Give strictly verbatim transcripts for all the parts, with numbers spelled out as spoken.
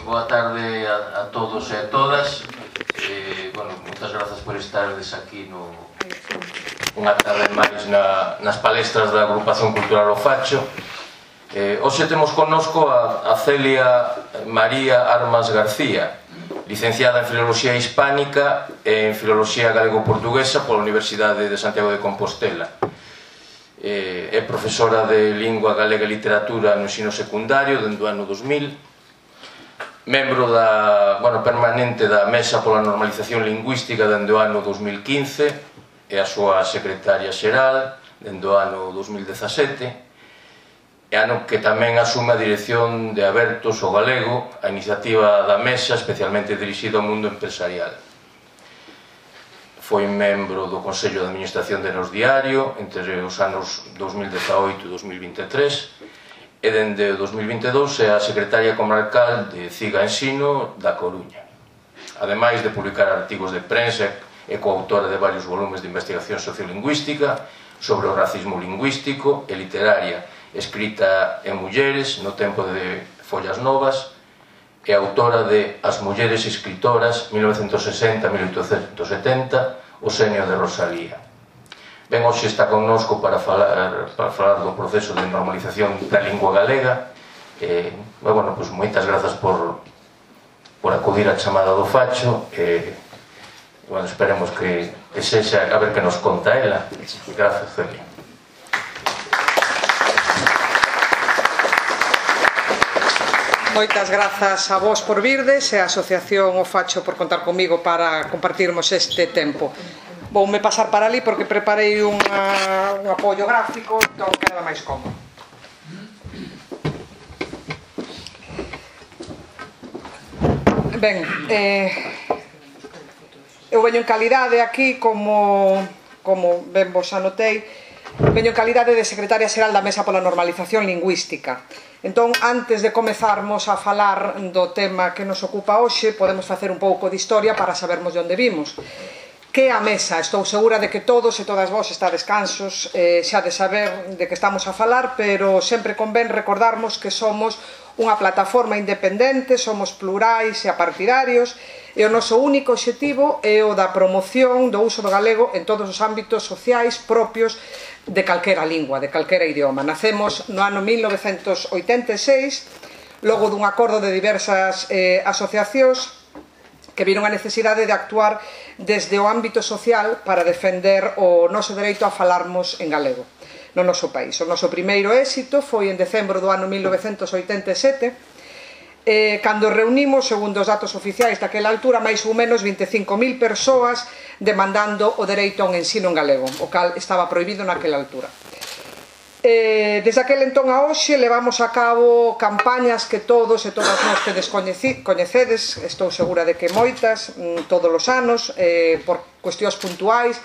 boa tarde a, a todos e a todas. Eh, bueno, moitas grazas por estardes aquí no, unha tarde máis na, nas palestras da Agrupación Cultural O Facho. Eh, hoxe temos connosco a, a Celia María Armas García, licenciada en Filoloxía Hispánica e en Filoloxía Galego-Portuguesa pola Universidade de Santiago de Compostela. Eh, é profesora de Lingua Galega e Literatura no ensino secundario dende o ano dos mil, membro da, bueno, permanente da Mesa pola Normalización Lingüística dende o ano dos mil quince e a súa secretaria xeral dende o ano dos mil dezasete, e ano que tamén asume a dirección de Abertos o Galego, a iniciativa da Mesa especialmente dirixida ao mundo empresarial. Foi membro do Consello de Administración de Nos Diario entre os anos dos mil dezaoito e dos mil vinte e tres, e dende o dos mil vinte e dous é a secretaria comarcal de Ciga Ensino da Coruña. Ademais de publicar artigos de prensa, é coautora de varios volumes de investigación sociolingüística sobre o racismo lingüístico e literaria, escrita en Mulleres no tempo de Follas Novas, e autora de As mulleres escritoras mil novecentos sesenta a mil oitocentos setenta, O senio de Rosalía. Ben, hoxe está connosco para falar, para falar do proceso de normalización da lingua galega. E, bueno, pues, moitas grazas por, por acudir á chamada do Facho. E, bueno, esperemos que, que sexa, a ver que nos conta ela. Grazas, Celia. Moitas grazas a vos por virdes e a Asociación O Facho por contar comigo para compartirmos este tempo. Voume pasar para ali porque preparei unha, un apoio gráfico, entón queda máis cómodo. Ben, eh, eu veño en calidade aquí como, como ben vos anotei, veño en calidade de secretaria xeral da Mesa pola Normalización Lingüística. Entón, antes de comezarmos a falar do tema que nos ocupa hoxe, podemos facer un pouco de historia para sabermos de onde vimos. Que a Mesa? Estou segura de que todos e todas vos estades cansos eh, xa de saber de que estamos a falar, pero sempre convén recordarmos que somos unha plataforma independente, somos plurais e apartidarios, e o noso único obxectivo é o da promoción do uso do galego en todos os ámbitos sociais propios de calquera lingua, de calquera idioma. Nacemos no ano mil novecentos oitenta e seis, logo dun acordo de diversas eh, asociacións que viron a necesidade de actuar desde o ámbito social para defender o noso dereito a falarmos en galego no noso país. O noso primeiro éxito foi en decembro do ano mil novecentos oitenta e sete, eh, cando reunimos, segundo os datos oficiais daquela altura, máis ou menos vinte e cinco mil persoas demandando o dereito a un ensino en galego, o cal estaba prohibido naquela altura. Eh, desde aquel entón a hoxe levamos a cabo campañas que todos e todas nós tedes coñecedes, estou segura de que moitas, todos os anos, eh, por cuestións puntuais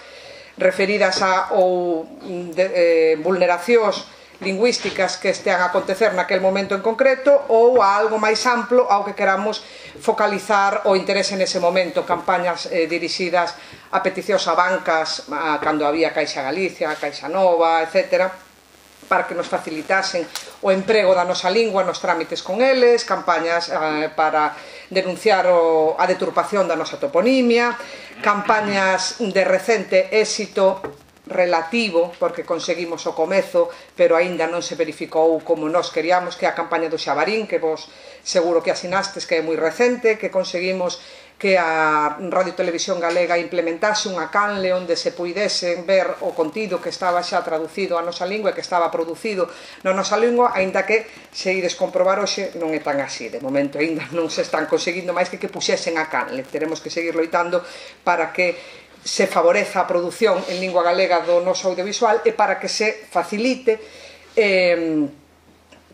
referidas a ou de, eh, vulneracións lingüísticas que estean a acontecer naquel momento en concreto, ou a algo máis amplo ao que queramos focalizar o interese nese momento, campañas eh, dirixidas a peticións a bancas, a, cando había Caixa Galicia, Caixa Nova, etcétera, para que nos facilitasen o emprego da nosa lingua nos trámites con eles, campañas eh, para denunciar o, a deturpación da nosa toponimia, campañas de recente éxito relativo, porque conseguimos o comezo, pero aínda non se verificou como nós queríamos, que é a campaña do Xabarín, que vos seguro que asinastes, que é moi recente, que conseguimos que a Radio Televisión Galega implementase unha canle onde se puidesen ver o contido que estaba xa traducido á nosa lingua e que estaba producido na nosa lingua, aínda que, se ides comprobar hoxe, non é tan así. De momento aínda non se están conseguindo máis que que puxesen a canle. Teremos que seguir loitando para que se favoreza a produción en lingua galega do noso audiovisual e para que se facilite eh,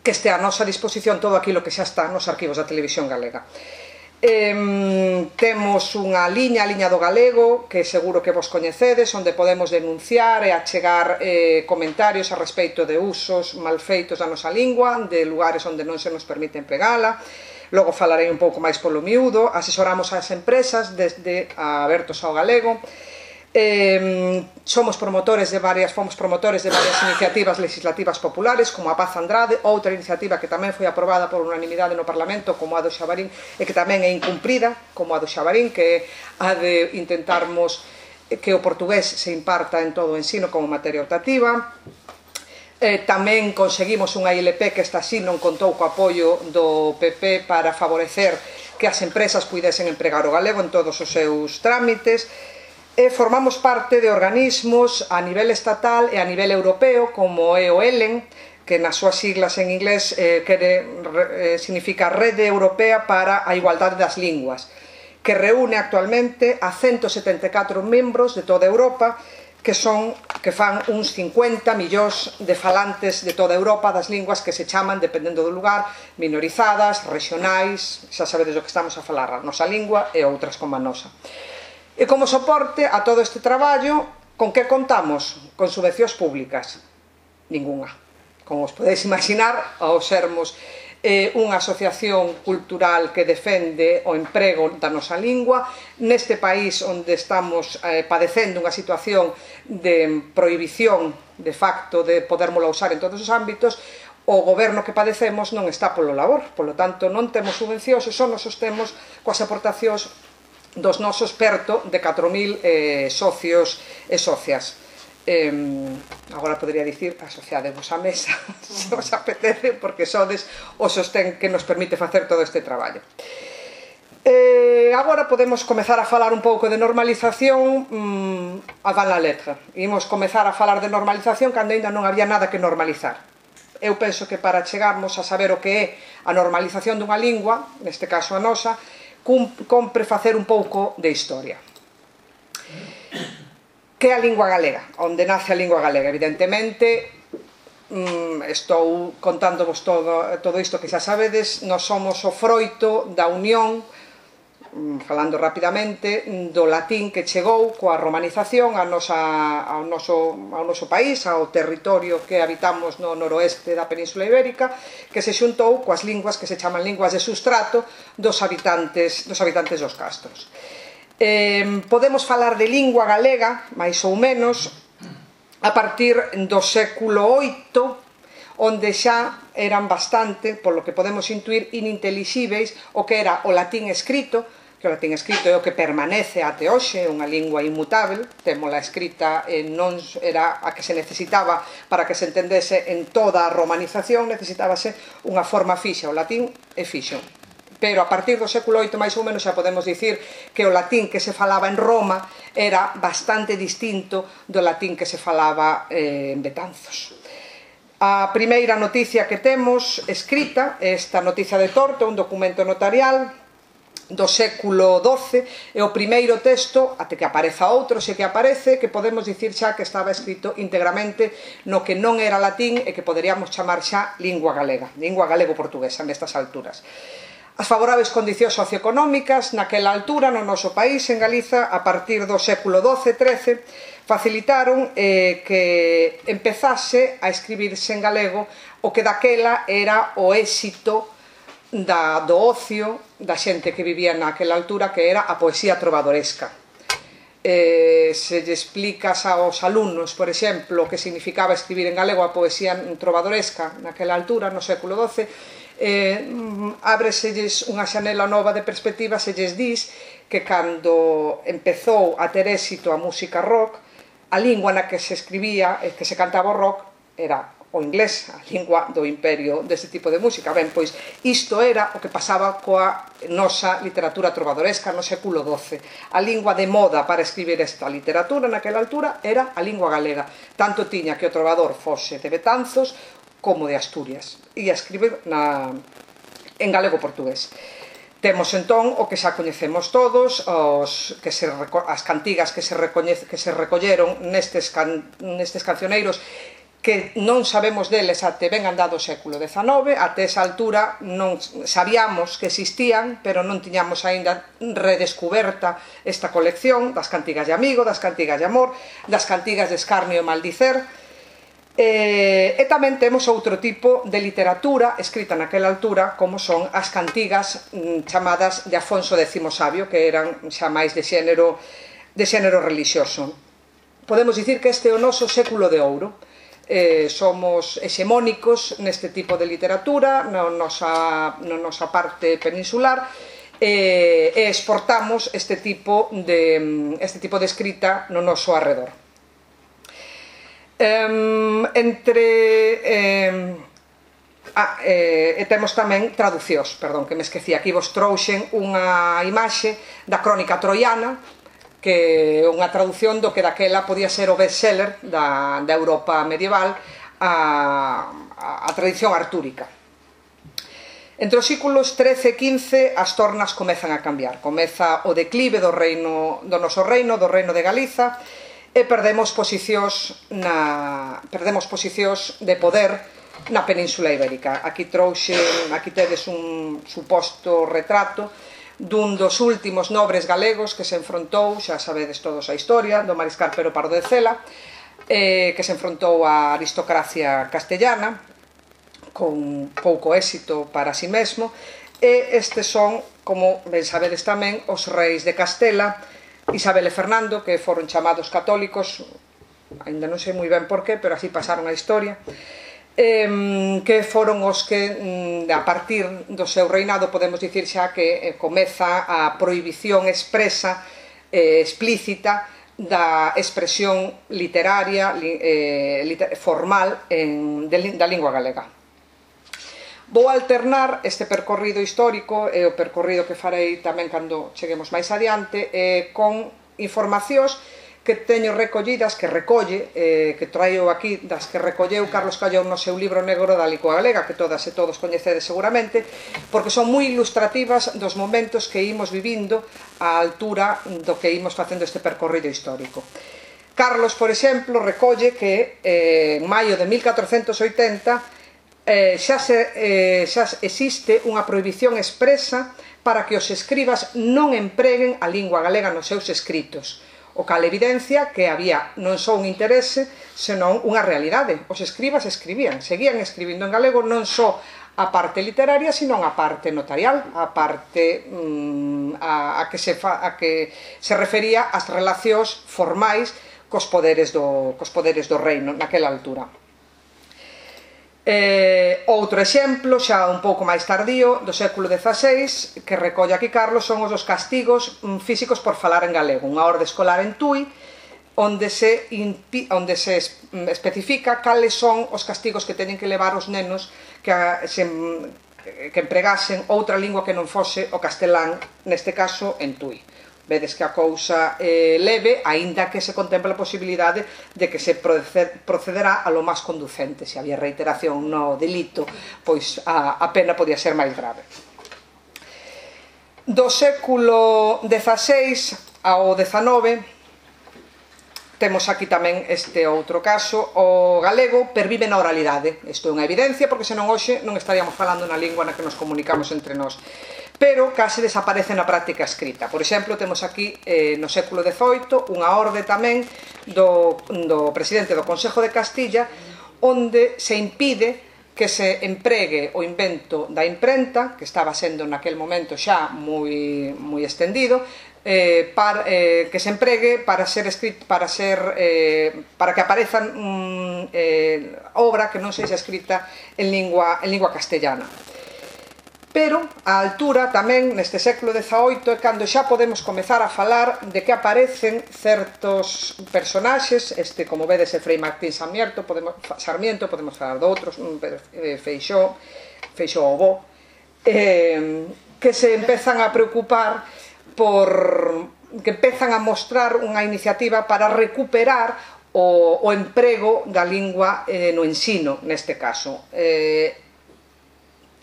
que este a nosa disposición todo aquilo que xa está nos arquivos da Televisión Galega. Eh, temos unha liña, a liña do galego, que seguro que vos coñecedes, onde podemos denunciar e achegar eh, comentarios a respecto de usos malfeitos da nosa lingua, de lugares onde non se nos permite empregala. Logo falarei un pouco máis polo miúdo. Asesoramos ás empresas desde a Abertos ao Galego. Eh, somos promotores de varias, fomos promotores de varias iniciativas legislativas populares, como a Paz Andrade, outra iniciativa que tamén foi aprobada por unanimidade no Parlamento, como a do Xabarín, e que tamén é incumprida, como a do Xabarín, que a de intentarmos que o portugués se imparta en todo o ensino como materia optativa. Eh, tamén conseguimos unha I L P que esta sí non contou co apoio do P P para favorecer que as empresas puidesen empregar o galego en todos os seus trámites. E formamos parte de organismos a nivel estatal e a nivel europeo, como é o ELEN, que nas súas siglas en inglés eh, quere, eh, significa Rede Europea para a Igualdade das Linguas, que reúne actualmente a ciento setenta e catro membros de toda Europa, que son que fan uns cincuenta millóns de falantes de toda Europa das linguas que se chaman, dependendo do lugar, minorizadas, regionais, xa sabedes do que estamos a falar, a nosa lingua e outras como a nosa. E como soporte a todo este traballo, con que contamos? Con subvencións públicas? Ninguna. Como os podedes imaginar, ao sermos eh, unha asociación cultural que defende o emprego da nosa lingua, neste país onde estamos eh, padecendo unha situación de prohibición de facto de podérmolo usar en todos os ámbitos, o goberno que padecemos non está polo labor, polo tanto non temos subvencións e só nos sostemos coas aportacións dos nosos perto de catro mil eh, socios e socias. Eh, agora podría dicir asociadevos á mesa, se os apetece, porque sodes o sostén que nos permite facer todo este traballo. Eh, agora podemos comezar a falar un pouco de normalización mmm, a van la letra. Imos comezar a falar de normalización cando ainda non había nada que normalizar. Eu penso que para chegarmos a saber o que é a normalización dunha lingua, neste caso a nosa, compre facer un pouco de historia. Que é a lingua galega? Onde nace a lingua galega? Evidentemente, estou contándovos todo, todo isto que xa sabedes, nós somos o froito da unión, falando rapidamente, do latín que chegou coa romanización ao noso país, ao territorio que habitamos no noroeste da Península Ibérica, que se xuntou coas linguas que se chaman linguas de sustrato dos habitantes dos habitantes dos castros. Podemos falar de lingua galega, máis ou menos, a partir do século oito, onde xa eran bastante, polo que podemos intuir, inintelixíveis o que era o latín escrito, que o latín escrito é o que permanece até hoxe, unha lingua inmutável, témola escrita e non era a que se necesitaba para que se entendese en toda a romanización, necesitábase unha forma fixa, o latín é fixo. Pero a partir do século oito, máis ou menos, xa podemos dicir que o latín que se falaba en Roma era bastante distinto do latín que se falaba en Betanzos. A primeira noticia que temos escrita é esta noticia de Torto, un documento notarial do século doce, e o primeiro texto, até que apareza outro, se que aparece, que podemos dicir xa que estaba escrito íntegramente no que non era latín e que poderíamos chamar xa lingua galega, lingua galego-portuguesa nestas alturas. As favorables condicións socioeconómicas naquela altura no noso país, en Galiza, a partir do século doce trece, facilitaron eh, que empezase a escribirse en galego o que daquela era o éxito da, do ocio da xente que vivía naquela altura, que era a poesía trovadoresca. Eh, se lle explicas aos alumnos, por exemplo, o que significaba escribir en galego a poesía trovadoresca naquela altura, no século doce, eh, ábreselles unha xanela nova de perspectiva se lles dis que cando empezou a ter éxito a música rock, a lingua na que se escribía e que se cantaba o rock era o inglés, a lingua do imperio deste tipo de música. Ben, pois isto era o que pasaba coa nosa literatura trovadoresca no século doce. A lingua de moda para escribir esta literatura naquela altura era a lingua galega. Tanto tiña que o trovador fose de Betanzos como de Asturias. Ia escribir na, en galego-portugués. Temos entón o que xa coñecemos todos, os, que se, as cantigas que se, recoñece, que se recolleron nestes, can, nestes cancioneiros, que non sabemos deles até ben andado o século dezanove, até esa altura non sabíamos que existían, pero non tiñamos aínda redescuberta esta colección das cantigas de amigo, das cantigas de amor, das cantigas de escarnio e maldicer. E, e tamén temos outro tipo de literatura escrita naquela altura, como son as cantigas mm, chamadas de Afonso décimo Sabio, que eran xa máis de xénero, de xénero relixioso. podemos dicir que este é o noso século de ouro. Eh, somos hexemónicos neste tipo de literatura na nosa, na nosa parte peninsular e, e exportamos este tipo de, este tipo de escrita no noso arredor. Eh, entre eh, ah, eh, e temos tamén traducións, perdón, que me esqueci, aquí vos trouxen unha imaxe da crónica troiana, que é unha traducción do que daquela podía ser o bestseller da, da Europa medieval, a, a, a tradición artúrica. Entre os séculos trece e quince as tornas comezan a cambiar. Comeza o declive do reino, do noso reino, do reino de Galiza, e perdemos posicións, na, perdemos posicións de poder na Península Ibérica. Aquí trouxe, aquí tedes un suposto retrato dun dos últimos nobres galegos que se enfrontou, xa sabedes todos a historia, do mariscal Pero Pardo de Cela, eh, que se enfrontou á aristocracia castellana, con pouco éxito para si mesmo, e estes son, como ben sabedes tamén, os reis de Castela, Isabel e Fernando, que foron chamados católicos, ainda non sei moi ben por qué, pero así pasaron a historia, Eh, que foron os que a partir do seu reinado podemos dicir xa que eh, comeza a prohibición expresa eh, explícita da expresión literaria eh, liter formal en, de, da lingua galega. Vou alternar este percorrido histórico e o percorrido que farei tamén cando cheguemos máis adiante eh, con informacións que teño recollidas, que recolle, eh, que traio aquí, das que recolleu Carlos Callón no seu libro negro da lingua galega, que todas e todos coñecedes seguramente, porque son moi ilustrativas dos momentos que imos vivindo á altura do que imos facendo este percorrido histórico. Carlos, por exemplo, recolle que eh, en maio de mil catrocentos oitenta eh, xa, se, eh, xa existe unha prohibición expresa para que os escribas non empreguen a lingua galega nos seus escritos. O cal evidencia que había non só un interese, senón unha realidade. Os escribas escribían, seguían escribindo en galego non só a parte literaria, senón a parte notarial, a parte mmm, a, a, que se fa, a que se refería ás relacións formais cos poderes do, cos poderes do reino naquela altura. Eh, outro exemplo, xa un pouco máis tardío, do século dezaseis, que recolle aquí Carlos, son os dos castigos físicos por falar en galego. Unha orde escolar en Tui, onde se, onde se especifica cales son os castigos que teñen que levar os nenos que, se, que empregasen outra lingua que non fose o castelán, neste caso en Tui. Vedes que a cousa é leve, aínda que se contempla a posibilidade de que se procederá a lo máis conducente. Se había reiteración no delito, pois a, a pena podía ser máis grave. Do século dezaseis ao dezanove, temos aquí tamén este outro caso. O galego pervive na oralidade. Isto é unha evidencia, porque senón hoxe non estaríamos falando na lingua na que nos comunicamos entre nós. Pero case desaparece na práctica escrita. Por exemplo, temos aquí eh, no século dezoito unha orde tamén do, do presidente do Consello de Castilla, onde se impide que se empregue o invento da imprenta, que estaba sendo naquel momento xa moi, moi extendido, eh, para, eh, que se empregue para ser escrito, para ser eh, para que aparezan um, eh, obra que non sexa escrita en lingua, en lingua castellana. Pero a altura tamén neste século dezaoito é cando xa podemos comezar a falar de que aparecen certos personaxes, este, como vedes, é Frei Martín Sarmiento, podemos, Sarmiento, podemos falar de outros, Feixóo, Feixóo Bo, eh, que se empezan a preocupar por, que empezan a mostrar unha iniciativa para recuperar o, o emprego da lingua eh, no ensino, neste caso. Eh,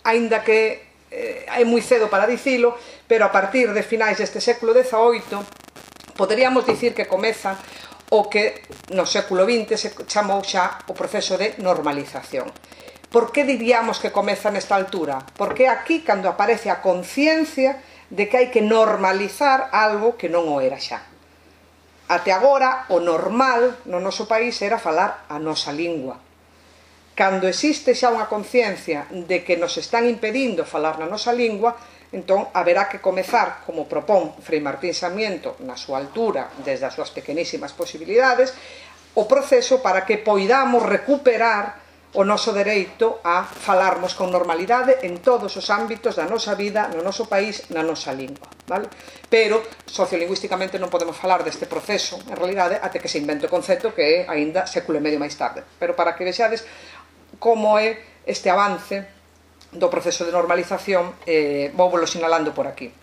aínda que é moi cedo para dicilo, pero a partir de finais deste século dezaoito poderíamos dicir que comeza o que no século vinte se chamou xa o proceso de normalización. Por que diríamos que comeza nesta altura? Porque aquí cando aparece a conciencia de que hai que normalizar algo que non o era xa. Até agora o normal no noso país era falar a nosa lingua. Cando existe xa unha conciencia de que nos están impedindo falar na nosa lingua, Entón, haberá que comezar, como propón Frei Martín Sarmiento, na súa altura, desde as súas pequenísimas posibilidades, o proceso para que poidamos recuperar o noso dereito a falarmos con normalidade en todos os ámbitos da nosa vida, no noso país, na nosa lingua. Pero, sociolingüísticamente, non podemos falar deste proceso, en realidade, até que se invente o concepto que é aínda século e medio máis tarde. Pero para que vexades como é este avance do proceso de normalización, eh, vou volo sinalando por aquí.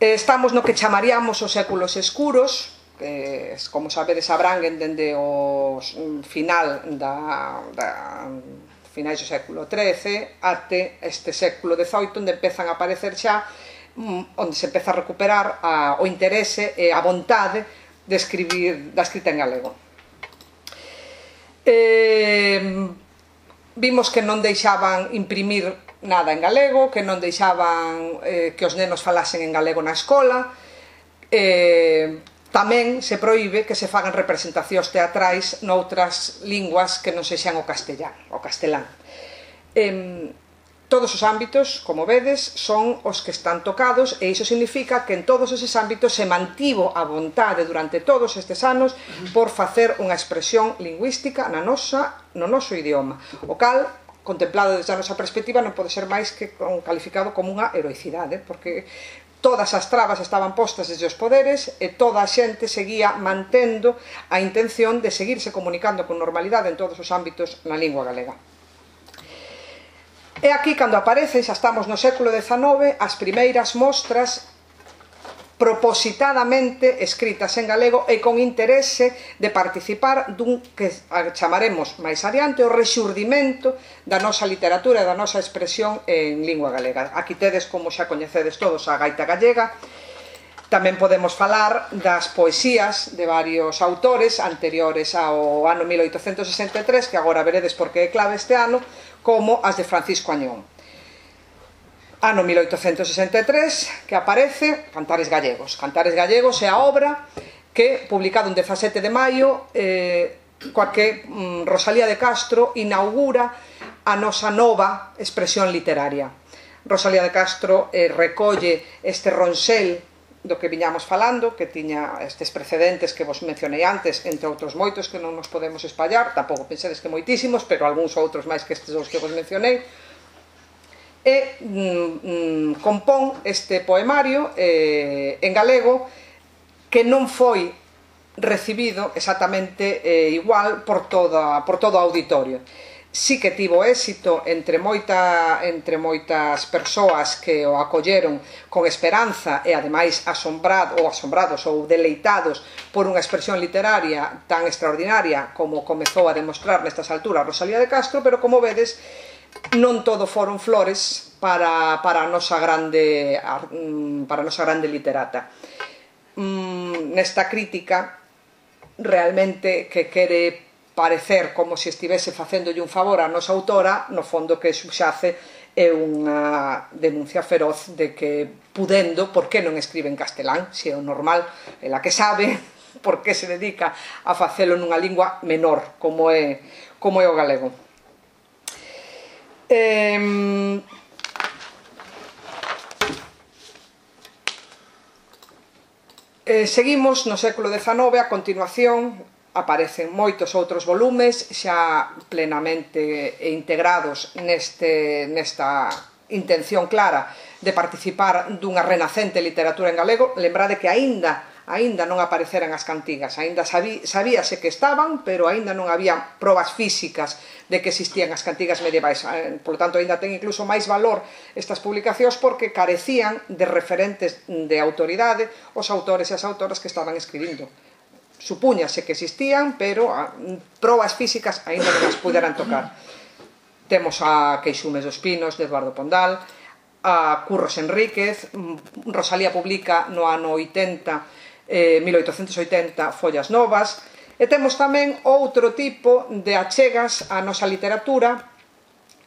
Estamos no que chamaríamos os séculos escuros, que, como sabedes, abranguen dende o final da, da finais do século trece até este século dezoito, onde empezan a aparecer xa, onde se empeza a recuperar a, o interese e a vontade de escribir, da escrita en galego. Eh, vimos que non deixaban imprimir nada en galego, que non deixaban eh, que os nenos falasen en galego na escola. Eh, tamén se proíbe que se fagan representacións teatrais noutras linguas que non sexan o castellán, o castelán. Eh, todos os ámbitos, como vedes, son os que están tocados, e iso significa que en todos eses ámbitos se mantivo a vontade durante todos estes anos por facer unha expresión lingüística na nosa, no noso idioma, o cal, contemplado desde a nosa perspectiva, non pode ser máis que calificado como unha heroicidade, porque todas as trabas estaban postas desde os poderes e toda a xente seguía mantendo a intención de seguirse comunicando con normalidade en todos os ámbitos na lingua galega. E aquí, cando aparecen, xa estamos no século dezanove, as primeiras mostras propositadamente escritas en galego e con interese de participar dun que chamaremos máis adiante o rexurdimento da nosa literatura e da nosa expresión en lingua galega. Aquí tedes, como xa coñecedes todos, a gaita gallega. Tamén podemos falar das poesías de varios autores anteriores ao ano mil oitocentos sesenta e tres, que agora veredes porque é clave este ano, como as de Francisco Añón. Ano mil oitocentos sesenta e tres, que aparece Cantares Gallegos. Cantares Gallegos é a obra que, publicado en dezasete de maio, eh, coa que mm, Rosalía de Castro inaugura a nosa nova expresión literaria. Rosalía de Castro eh, recolle este ronsel do que viñamos falando, que tiña estes precedentes que vos mencionei antes, entre outros moitos que non nos podemos espallar, tampouco pensedes que moitísimos, pero algúns outros máis que estes dous que vos mencionei, e mm, compón este poemario eh, en galego que non foi recibido exactamente eh, igual por, toda, por todo o auditorio. Sí que tivo éxito entre, moita, entre moitas persoas que o acolleron con esperanza e ademais asombrado, ou asombrados ou deleitados por unha expresión literaria tan extraordinaria como comezou a demostrar nestas alturas Rosalía de Castro, pero como vedes, non todo foron flores para, para, a nosa grande, para a nosa grande literata. Mm, nesta crítica, realmente, que quere parecer como se estivese facéndolle un favor á nosa autora, no fondo que subxace é unha denuncia feroz de que, pudendo, por que non escribe en castelán, se é o normal, ela que sabe, por que se dedica a facelo nunha lingua menor, como é, como é o galego. Eh, eh, seguimos no século dezanove, a continuación aparecen moitos outros volumes xa plenamente integrados neste, nesta intención clara de participar dunha renacente literatura en galego. Lembrade que aínda aínda non apareceran as cantigas, aínda sabí, sabíase que estaban, pero aínda non había probas físicas de que existían as cantigas medievais. Por lo tanto, aínda ten incluso máis valor estas publicacións porque carecían de referentes de autoridade os autores e as autoras que estaban escribindo. Supúñase que existían, pero probas físicas aínda non as puderan tocar. Temos a Queixumes dos Pinos, de Eduardo Pondal, a Curros Enríquez, Rosalía publica no ano oitenta, eh, mil oitocentos oitenta, Follas Novas, e temos tamén outro tipo de achegas á nosa literatura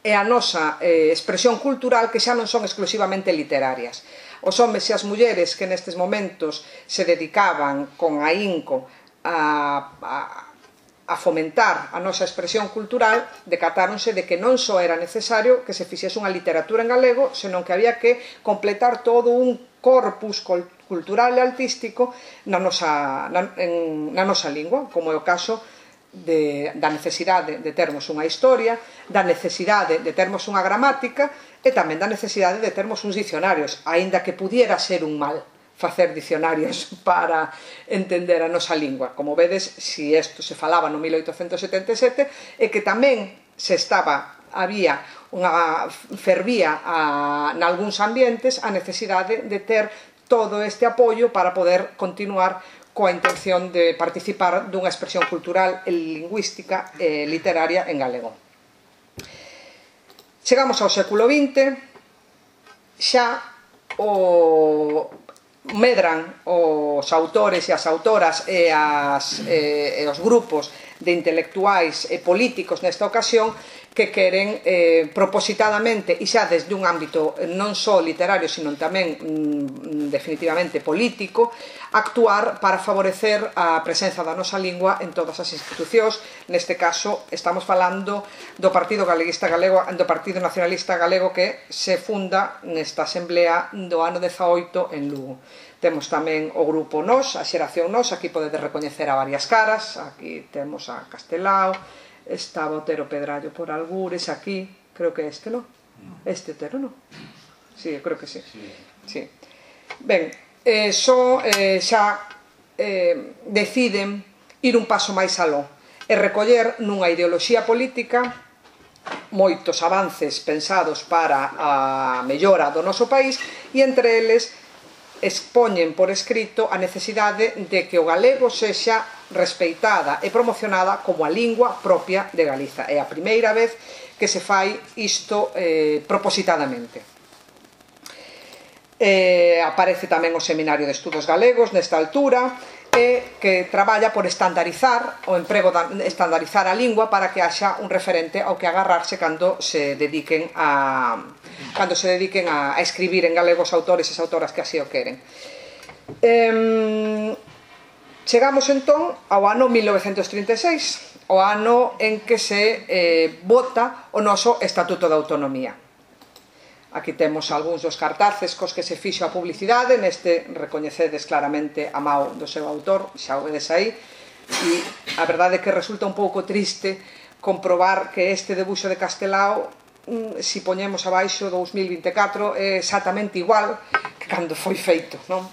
e á nosa eh, expresión cultural que xa non son exclusivamente literarias. Os homes e as mulleres que nestes momentos se dedicaban con ahínco a, a, a a fomentar a nosa expresión cultural, decatáronse de que non só era necesario que se fixese unha literatura en galego, senón que había que completar todo un corpus cultural e artístico na nosa, na, en, na nosa lingua, como é o caso de, da necesidade de termos unha historia, da necesidade de termos unha gramática e tamén da necesidade de termos uns dicionarios, aínda que pudiera ser un mal facer dicionarios para entender a nosa lingua. Como vedes, si isto se falaba no mil oitocentos setenta e sete, e que tamén se estaba, había unha fervía a, nalgúns ambientes a necesidade de ter todo este apoio para poder continuar coa intención de participar dunha expresión cultural e lingüística e literaria en galego. Chegamos ao século vinte, xa o medran os autores e as autoras e, as, e, e os grupos de intelectuais e políticos nesta ocasión que queren eh, propositadamente e xa desde un ámbito non só literario sino tamén mm, definitivamente político actuar para favorecer a presenza da nosa lingua en todas as institucións. Neste caso estamos falando do Partido Galeguista Galego, do Partido Nacionalista Galego, que se funda nesta asamblea do ano dezaoito en Lugo. Temos tamén o grupo Nós, a xeración Nós, aquí podedes recoñecer a varias caras, aquí temos a Castelao, estaba Otero Pedrallo por algures, aquí, creo que este, non? Este Otero, non? Sí, creo que sí. Sí. Ben, eh, só eh, xa eh, deciden ir un paso máis aló e recoller nunha ideoloxía política moitos avances pensados para a mellora do noso país e entre eles expoñen por escrito a necesidade de que o galego sexa respeitada e promocionada como a lingua propia de Galiza. É a primeira vez que se fai isto eh, propositadamente. Eh, aparece tamén o Seminario de Estudos Galegos nesta altura, e que traballa por estandarizar o emprego da, estandarizar a lingua para que haxa un referente ao que agarrarse cando se dediquen a cando se dediquen a, a escribir en galego os autores e as autoras que así o queren. Eh, chegamos entón ao ano mil novecentos trinta e seis, o ano en que se eh, vota o noso Estatuto de Autonomía. Aquí temos algúns dos cartaces cos que se fixo a publicidade, neste recoñecedes claramente a mao do seu autor, xa o vedes aí, e a verdade é que resulta un pouco triste comprobar que este debuxo de Castelao, si poñemos abaixo dous mil vinte e catro, é exactamente igual que cando foi feito, non?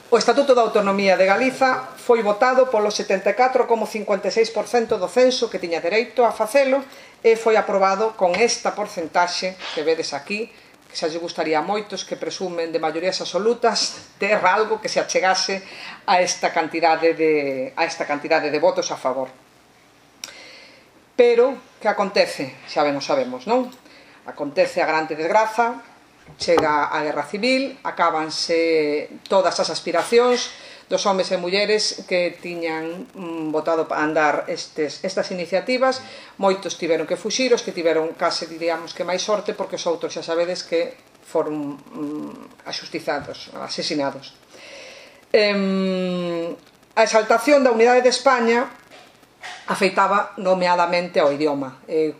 O Estatuto de Autonomía de Galiza foi votado polo setenta e catro coma cincuenta e seis por cento do censo que tiña dereito a facelo e foi aprobado con esta porcentaxe que vedes aquí, que xa lle gustaría a moitos que presumen de maiorías absolutas ter algo que se achegase a esta cantidade de, a esta cantidade de votos a favor. Pero, que acontece? Xa ben o sabemos, non? Acontece a grande desgraza, chega a Guerra Civil, acábanse todas as aspiracións dos homes e mulleres que tiñan mm, votado para andar estes, estas iniciativas. Moitos tiveron que fuxir, os que tiveron case, diríamos que máis sorte, porque os outros xa sabedes que foron mm, axustizados, asesinados. Eh, a exaltación da unidade de España afeitaba nomeadamente ao idioma. Eh,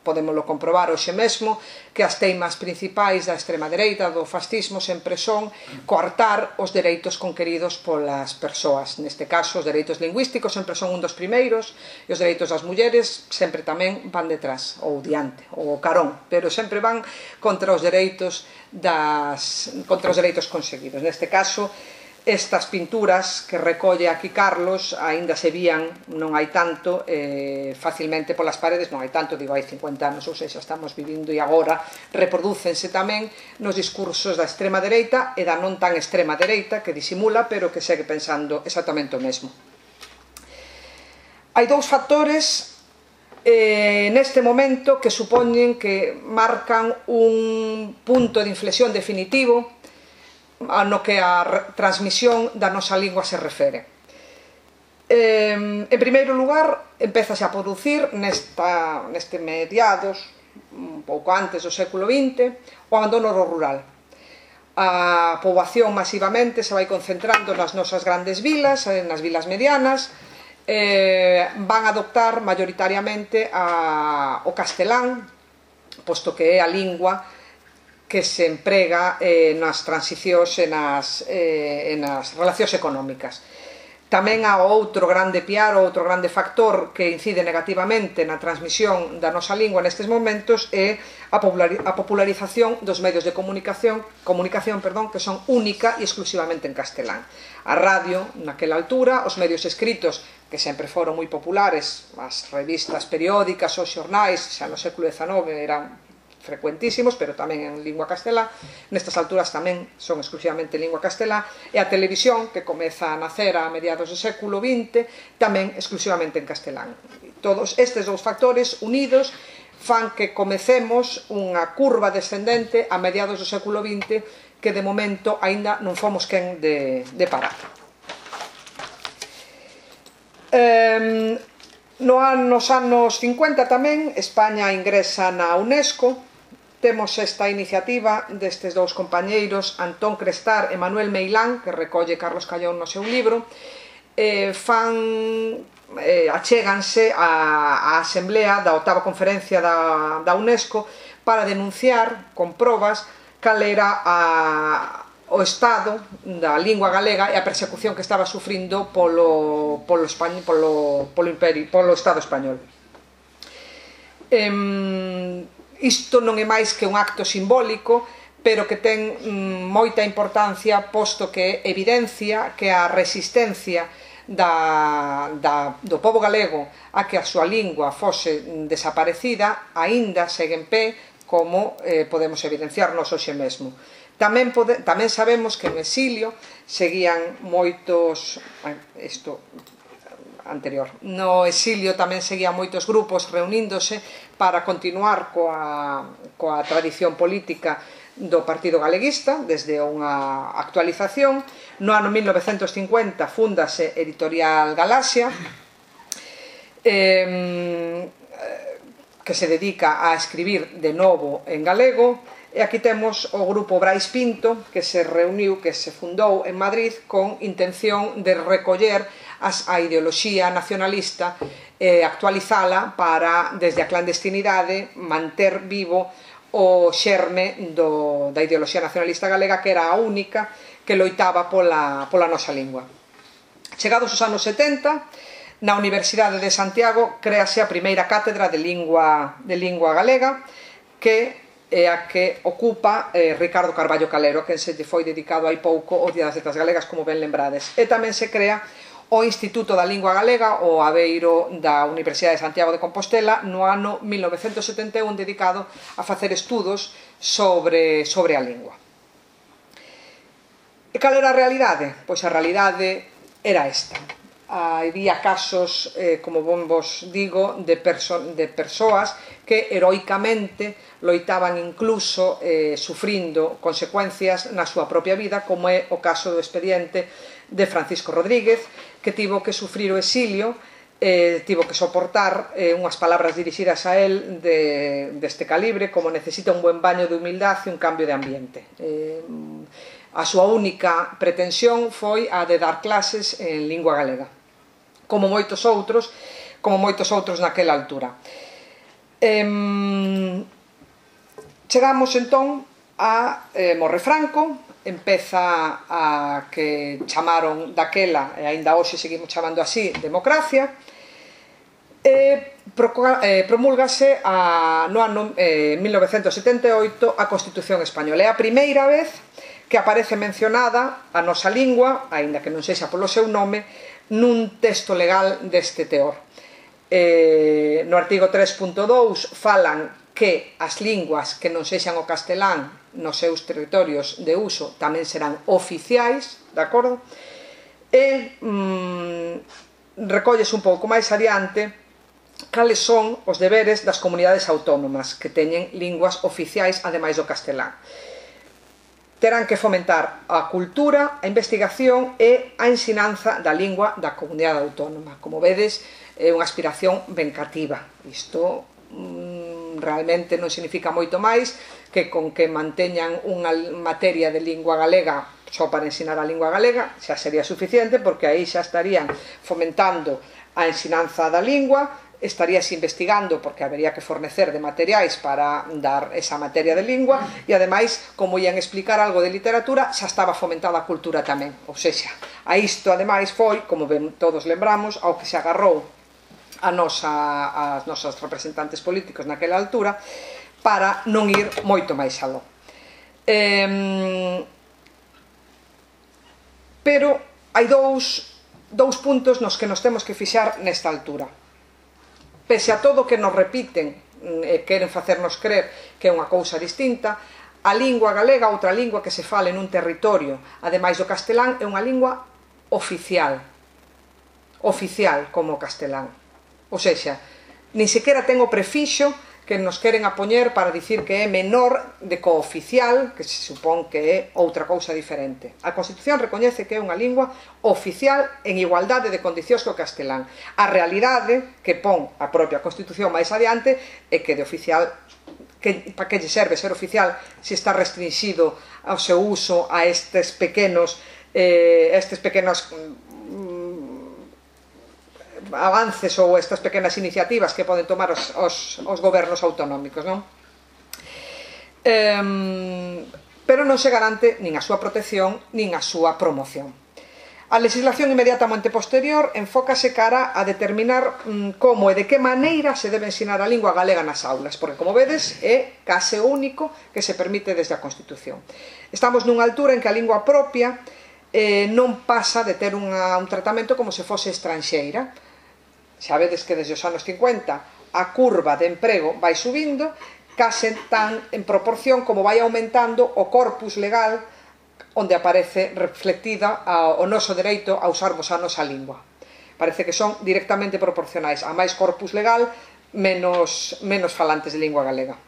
podémoslo comprobar hoxe mesmo que as teimas principais da extrema dereita, do fascismo, sempre son coartar os dereitos conqueridos polas persoas. Neste caso, os dereitos lingüísticos sempre son un dos primeiros e os dereitos das mulleres sempre tamén van detrás, ou diante, ou carón, pero sempre van contra os dereitos das, contra os dereitos conseguidos. Neste caso, estas pinturas que recolle aquí Carlos aínda se vían, non hai tanto, eh, facilmente polas paredes, non hai tanto, digo, hai cincuenta anos, ou seja, estamos vivindo e agora reprodúcense tamén nos discursos da extrema dereita e da non tan extrema dereita que disimula, pero que segue pensando exactamente o mesmo. Hai dous factores eh, neste momento que supoñen que marcan un punto de inflexión definitivo no que a transmisión da nosa lingua se refere. Eh, en primeiro lugar, empezase a producir nesta, neste mediados, un pouco antes do século vinte, o abandono rural. A poboación masivamente se vai concentrando nas nosas grandes vilas, nas vilas medianas, eh, van a adoptar maioritariamente a, o castelán, posto que é a lingua que se emprega eh, nas transicións e nas, eh, nas relacións económicas. Tamén há outro grande piar, outro grande factor que incide negativamente na transmisión da nosa lingua nestes momentos é a popularización dos medios de comunicación, comunicación perdón, que son única e exclusivamente en castelán. A radio, naquela altura, os medios escritos, que sempre foron moi populares, as revistas periódicas, os xornais, xa no século dezanove eran frecuentísimos, pero tamén en lingua castelá. Nestas alturas tamén son exclusivamente en lingua castelá, e a televisión, que comeza a nacer a mediados do século vinte, tamén exclusivamente en castelán. Todos estes dous factores unidos fan que comecemos unha curva descendente a mediados do século vinte que de momento aínda non fomos quen de, de parar. Eh, no nos anos cincuenta tamén España ingresa na UNESCO. Temos esta iniciativa destes dous compañeiros, Antón Crestar e Manuel Meilán, que recolle Carlos Callón no seu libro, eh, fan, eh, achéganse á Asamblea da oitava Conferencia da, da UNESCO para denunciar con probas cal era a, o estado da lingua galega e a persecución que estaba sufrindo polo, polo, Español, polo, polo, imperio, polo Estado español. Eh, Isto non é máis que un acto simbólico, pero que ten mm, moita importancia, posto que evidencia que a resistencia da, da, do pobo galego a que a súa lingua fose desaparecida aínda segue en pé, como eh, podemos evidenciarnos hoxe mesmo. Tamén, pode, tamén sabemos que no exilio seguían moitos... Isto... anterior. No exilio tamén seguían moitos grupos reuníndose para continuar coa, coa tradición política do Partido Galeguista, desde unha actualización. No ano mil novecentos cincuenta fundase Editorial Galaxia, eh, que se dedica a escribir de novo en galego, e aquí temos o grupo Brais Pinto, que se reuniu, que se fundou en Madrid con intención de recoller as, a ideoloxía nacionalista e actualizala para, desde a clandestinidade, manter vivo o xerme do, da ideoloxía nacionalista galega, que era a única que loitaba pola, pola nosa lingua. Chegados os anos setenta, na Universidade de Santiago créase a primeira cátedra de lingua, de lingua galega, que é a que ocupa eh, Ricardo Carballo Calero, que se foi dedicado hai pouco ao Día das Letras Galegas, como ben lembrades. E tamén se crea o Instituto da Lingua Galega, o Aveiro da Universidade de Santiago de Compostela, no ano mil novecentos setenta e un, dedicado a facer estudos sobre, sobre a lingua. E cal era a realidade? Pois a realidade era esta. Había casos, eh, como vos digo, de, perso de persoas que heroicamente loitaban incluso eh, sufrindo consecuencias na súa propia vida, como é o caso do expediente de Francisco Rodríguez, que tivo que sufrir o exilio, eh, tivo que soportar eh, unhas palabras dirixidas a él de, deste calibre, como necesita un buen baño de humildade e un cambio de ambiente. Eh, a súa única pretensión foi a de dar clases en lingua galega, como moitos outros, como moitos outros naquela altura. Eh, chegamos entón a eh, Morre Franco, empeza a que chamaron daquela, e aínda hoxe seguimos chamando así, democracia, e promúlgase a, no ano eh, mil novecentos setenta e oito a Constitución Española. É a primeira vez que aparece mencionada a nosa lingua, aínda que non sexa polo seu nome, nun texto legal deste teor. Eh, no artigo tres punto dous falan que as linguas que non sexan o castelán nos seus territorios de uso tamén serán oficiais, de acordo? E mm, recolles un pouco máis adiante cales son os deberes das comunidades autónomas que teñen linguas oficiais ademais do castelán. Terán que fomentar a cultura, a investigación e a ensinanza da lingua da comunidade autónoma. Como vedes, é unha aspiración ben cativa. Isto mm, realmente non significa moito máis que con que manteñan unha materia de lingua galega só para ensinar a lingua galega xa sería suficiente, porque aí xa estarían fomentando a ensinanza da lingua, estarías investigando, porque habería que fornecer de materiais para dar esa materia de lingua, e ademais, como ian explicar algo de literatura, xa estaba fomentada a cultura tamén. Ou seja, a isto ademais foi, como ben todos lembramos, ao que se agarrou a nosa, as nosas representantes políticos naquela altura, para non ir moito máis aló. Eh, pero hai dous, dous puntos nos que nos temos que fixar nesta altura. Pese a todo que nos repiten e queren facernos crer que é unha cousa distinta, a lingua galega, outra lingua que se fale nun territorio, ademais do castelán, é unha lingua oficial. Oficial como o castelán. Ou seja, nin sequera ten o prefixo que nos queren a poñer para dicir que é menor de cooficial, que se supón que é outra cousa diferente. A Constitución recoñece que é unha lingua oficial en igualdade de condicións co castelán. A realidade que pon a propia Constitución máis adiante é que de oficial, que, para que lle serve ser oficial se está restringido ao seu uso a estes pequenos eh, estes pequenos avances ou estas pequenas iniciativas que poden tomar os, os, os gobernos autonómicos, non? Eh, pero non se garante nin a súa protección nin a súa promoción. A legislación inmediatamente posterior enfócase cara a determinar mm, como e de que maneira se debe ensinar a lingua galega nas aulas, porque, como vedes, é case o único que se permite desde a Constitución. Estamos nunha altura en que a lingua propia eh, non pasa de ter unha, un tratamento como se fose estranxeira. Xa vedes que desde os anos cincuenta a curva de emprego vai subindo, case tan en proporción como vai aumentando o corpus legal onde aparece reflectida o noso dereito a usarmos a nosa lingua. Parece que son directamente proporcionais. A máis corpus legal, menos, menos falantes de lingua galega.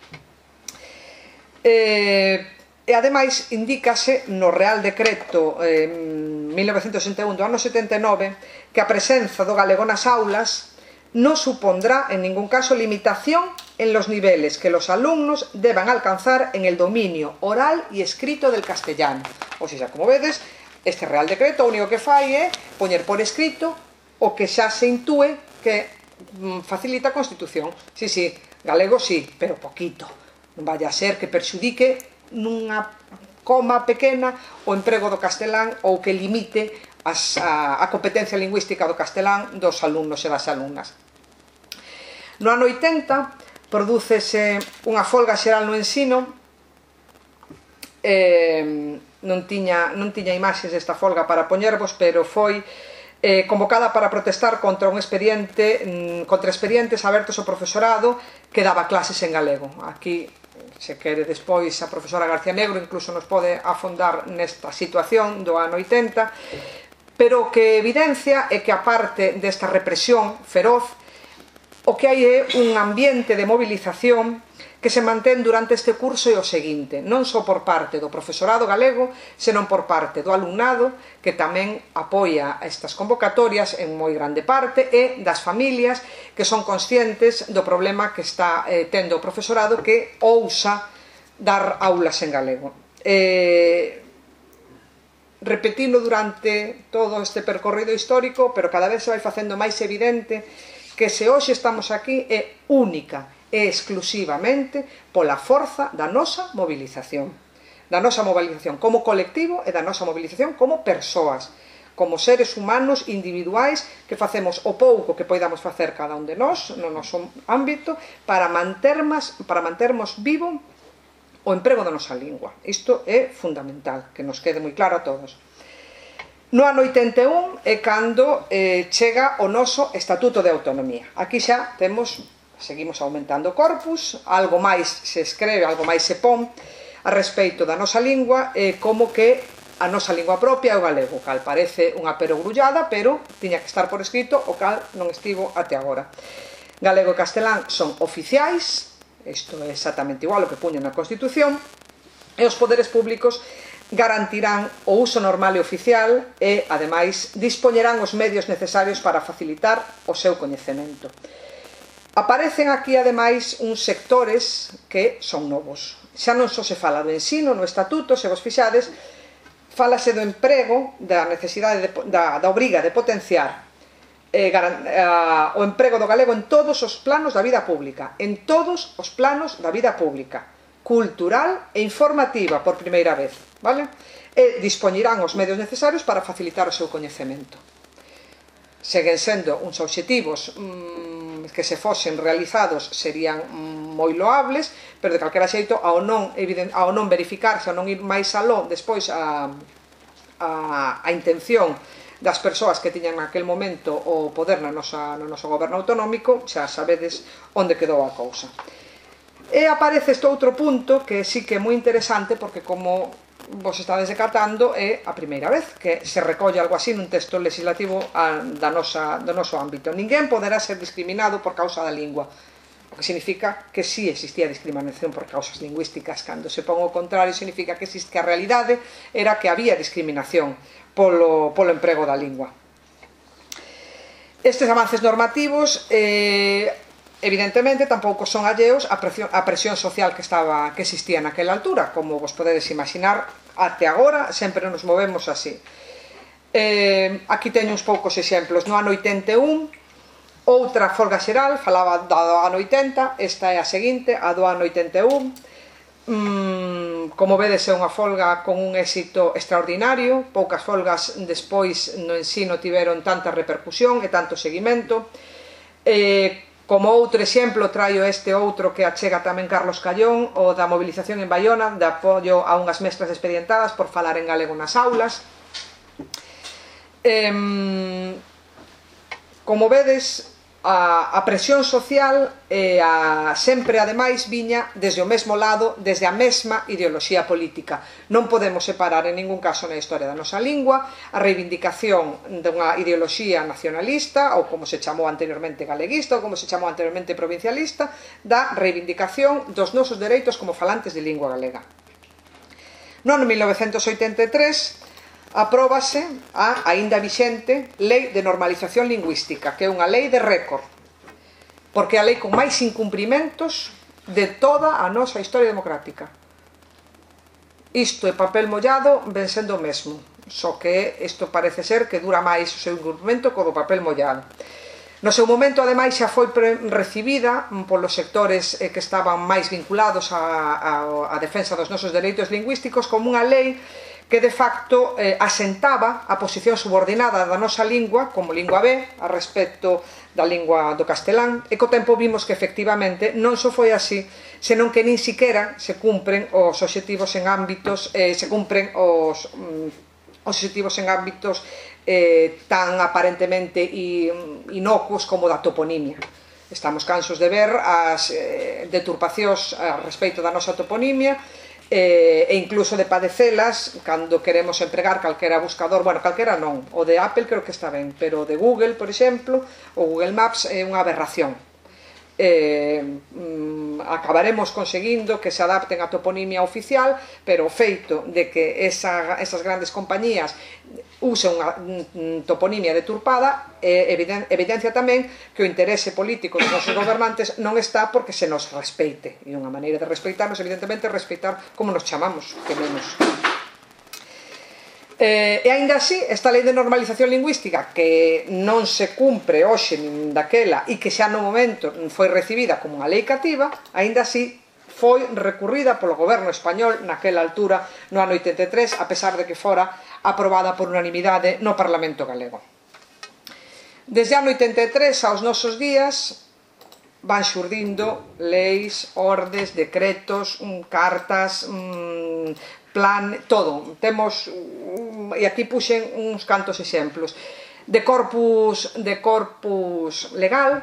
E, e ademais, indícase no Real Decreto eh, mil novecentos sesenta e un do ano setenta e nove que a presenza do galego nas aulas non supondrá en ningún caso limitación en los niveles que los alumnos deban alcanzar en el dominio oral y escrito del castellano. O sea, como vedes, este Real Decreto o único que fai é poñer por escrito o que xa se intúe que facilita a Constitución. Sí, sí, galego sí, pero poquito. Non vaya a ser que perxudique nunha coma pequena o emprego do castelán ou que limite as, a, a competencia lingüística do castelán dos alumnos e das alumnas. No ano oitenta prodúcese unha folga xeral no ensino. Eh, non tiña, non tiña imaxes desta folga para poñervos, pero foi eh, convocada para protestar contra un expediente, contra expedientes abertos ao profesorado que daba clases en galego. Aquí, se quere despois, a profesora García Negro incluso nos pode afondar nesta situación do ano oitenta, pero o que evidencia é que, aparte desta represión feroz, o que hai é un ambiente de movilización que se mantén durante este curso e o seguinte, non só por parte do profesorado galego, senón por parte do alumnado, que tamén apoia estas convocatorias en moi grande parte, e das familias que son conscientes do problema que está eh, tendo o profesorado, que ousa dar aulas en galego. Eh, repetino durante todo este percorrido histórico, pero cada vez se vai facendo máis evidente que se hoxe estamos aquí é única e exclusivamente pola forza da nosa movilización, da nosa movilización como colectivo e da nosa movilización como persoas, como seres humanos individuais que facemos o pouco que poidamos facer cada un de nós no noso ámbito para mantermos, para mantermos vivo o emprego da nosa lingua. Isto é fundamental, que nos quede moi claro a todos. No ano oitenta e un é cando eh, chega o noso Estatuto de Autonomía. Aquí xa temos, seguimos aumentando corpus, algo máis se escreve, algo máis se pon a respeito da nosa lingua, eh, como que a nosa lingua propia é o galego, o cal parece unha perogrullada, pero tiña que estar por escrito, o cal non estivo até agora. Galego e castelán son oficiais, isto é exactamente igual ao que puñen na Constitución, e os poderes públicos garantirán o uso normal e oficial e, ademais, dispoñerán os medios necesarios para facilitar o seu coñecemento. Aparecen aquí, ademais, uns sectores que son novos. Xa non só se fala do ensino no Estatuto, se vos fixades, fálase do emprego, da necesidade, de, da, da obriga de potenciar eh, garan, eh, o emprego do galego en todos os planos da vida pública, en todos os planos da vida pública, cultural e informativa por primeira vez, vale? E dispoñirán os medios necesarios para facilitar o seu coñecemento. Seguen sendo uns obxectivos mmm, que se fosen realizados serían moi loables, pero de calquera xeito ao non, ao non verificarse, ao non ir máis aló despois a, a, a intención das persoas que tiñan naquel momento o poder no, nosa, no noso goberno autonómico, xa sabedes onde quedou a cousa. E aparece este outro punto que sí que é moi interesante, porque como vos estades decatando é a primeira vez que se recolle algo así nun texto legislativo a, da nosa, do noso ámbito. Ninguén poderá ser discriminado por causa da lingua, o que significa que sí existía discriminación por causas lingüísticas. Cando se pon o contrario, significa que, existe, que a realidade era que había discriminación polo, polo emprego da lingua. Estes avances normativos eh, evidentemente tampouco son alleos á presión, á presión social que estaba que existía naquela altura. Como vos podedes imaginar, até agora sempre nos movemos así. Eh, aquí teño uns poucos exemplos. No ano oitenta e un, outra folga xeral, falaba do ano oitenta, esta é a seguinte, a do ano oitenta e un. Mm, como vedes, é unha folga con un éxito extraordinario. Poucas folgas despois no ensino tiveron tanta repercusión e tanto seguimento. Eh, Como outro exemplo, traio este outro que achega tamén Carlos Callón, o da movilización en Baiona, de apoio a unhas mestras expedientadas por falar en galego nas aulas. Eh, como vedes, a, a presión social e a, sempre, ademais, viña desde o mesmo lado, desde a mesma ideoloxía política. Non podemos separar en ningún caso na historia da nosa lingua a reivindicación dunha ideoloxía nacionalista, ou como se chamou anteriormente galeguista, ou como se chamou anteriormente provincialista, da reivindicación dos nosos dereitos como falantes de lingua galega. No ano mil novecentos oitenta e tres apróbase a aínda vixente Lei de Normalización Lingüística, que é unha lei de récord, porque é a lei con máis incumprimentos de toda a nosa historia democrática. Isto é papel mollado, ven sendo o mesmo, só que isto parece ser que dura máis o seu incumprimento co do papel mollado. No seu momento, ademais, xa foi recibida polos sectores que estaban máis vinculados á defensa dos nosos dereitos lingüísticos como unha lei que de facto eh, asentaba a posición subordinada da nosa lingua como lingua B a respecto da lingua do castelán, e co tempo vimos que efectivamente non só foi así, senón que nin siquera se cumpren os obxectivos en ámbitos eh, se cumpren os, mm, os obxectivos en ámbitos eh, tan aparentemente inocuos como da toponimia. Estamos cansos de ver as eh, deturpacións a respecto da nosa toponimia e incluso de padecelas cando queremos empregar calquera buscador, bueno, calquera non, o de Apple creo que está ben, pero o de Google, por exemplo, o Google Maps é unha aberración. Eh, mm, acabaremos conseguindo que se adapten a toponimia oficial, pero o feito de que esa, esas grandes compañías usen unha mm, toponimia deturpada eh, eviden, evidencia tamén que o interese político dos nosos gobernantes non está porque se nos respeite, e unha maneira de respeitarnos evidentemente é respeitar como nos chamamos, que menos. Eh, e aínda así, esta lei de normalización lingüística, que non se cumpre hoxe nin daquela e que xa no momento foi recibida como unha lei cativa, aínda así foi recurrida polo goberno español naquela altura, no ano oitenta e tres, a pesar de que fora aprobada por unanimidade no Parlamento galego. Desde o ano oitenta e tres aos nosos días van xurdindo leis, ordes, decretos, cartas, plan, todo. Temos, e aquí puxen uns cantos exemplos, de corpus, de corpus legal,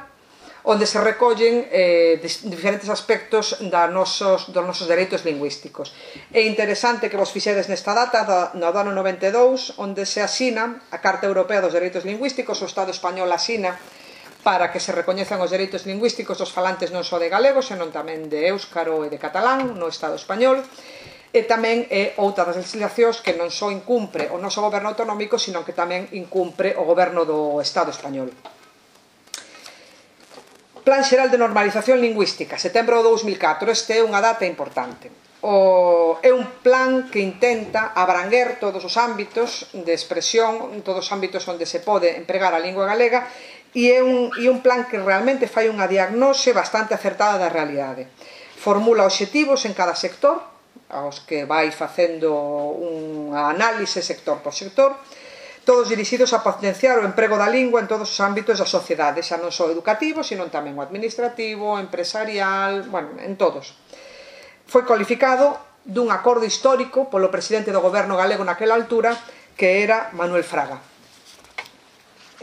onde se recollen eh, diferentes aspectos da nosos, dos nosos dereitos lingüísticos. É interesante que vos fixedes nesta data, no ano noventa e dous, onde se asina a Carta Europea dos Dereitos Lingüísticos, o Estado español asina para que se recoñezan os dereitos lingüísticos dos falantes non só de galego, senón tamén de éuscaro e de catalán no Estado español, e tamén é outra das legislacións que non só incumpre o noso goberno autonómico, senón que tamén incumpre o goberno do Estado español. Plan Xeral de Normalización Lingüística, setembro de dous mil catro, este é unha data importante. O, é un plan que intenta abranguer todos os ámbitos de expresión, todos os ámbitos onde se pode empregar a lingua galega, e é un, e un plan que realmente fai unha diagnose bastante acertada da realidade. Formula obxectivos en cada sector, aos que vai facendo unha análise sector por sector, todos dirixidos a potenciar o emprego da lingua en todos os ámbitos da sociedade, xa non só educativo, sino tamén o administrativo, empresarial, bueno, en todos. Foi cualificado dun acordo histórico polo presidente do goberno galego naquela altura, que era Manuel Fraga.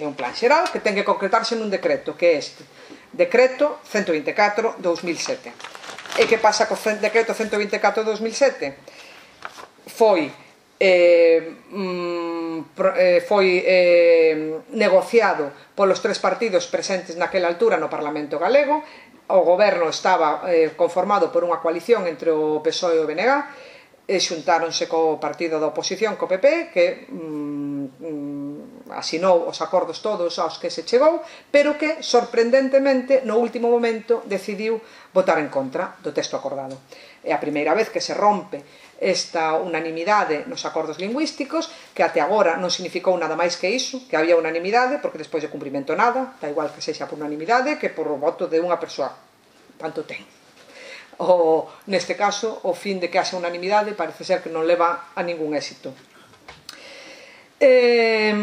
É un plan xeral que ten que concretarse nun decreto, que é este, decreto ciento veinticuatro barra dos mil sete. E que pasa co decreto ciento veinticuatro barra dos mil sete? Foi eh, foi eh, negociado polos tres partidos presentes naquela altura no Parlamento galego. O goberno estaba eh, conformado por unha coalición entre o P S O E e o B N G, e xuntáronse co partido da oposición, co P P, que mm, asinou os acordos todos aos que se chegou, pero que, sorprendentemente, no último momento decidiu votar en contra do texto acordado. É a primeira vez que se rompe esta unanimidade nos acordos lingüísticos, que até agora non significou nada máis que iso, que había unanimidade, porque despois de cumprimento nada, da igual que sexa por unanimidade, que por o voto de unha persoa. Tanto ten. O, neste caso, o fin de que haxa unanimidade parece ser que non leva a ningún éxito. E,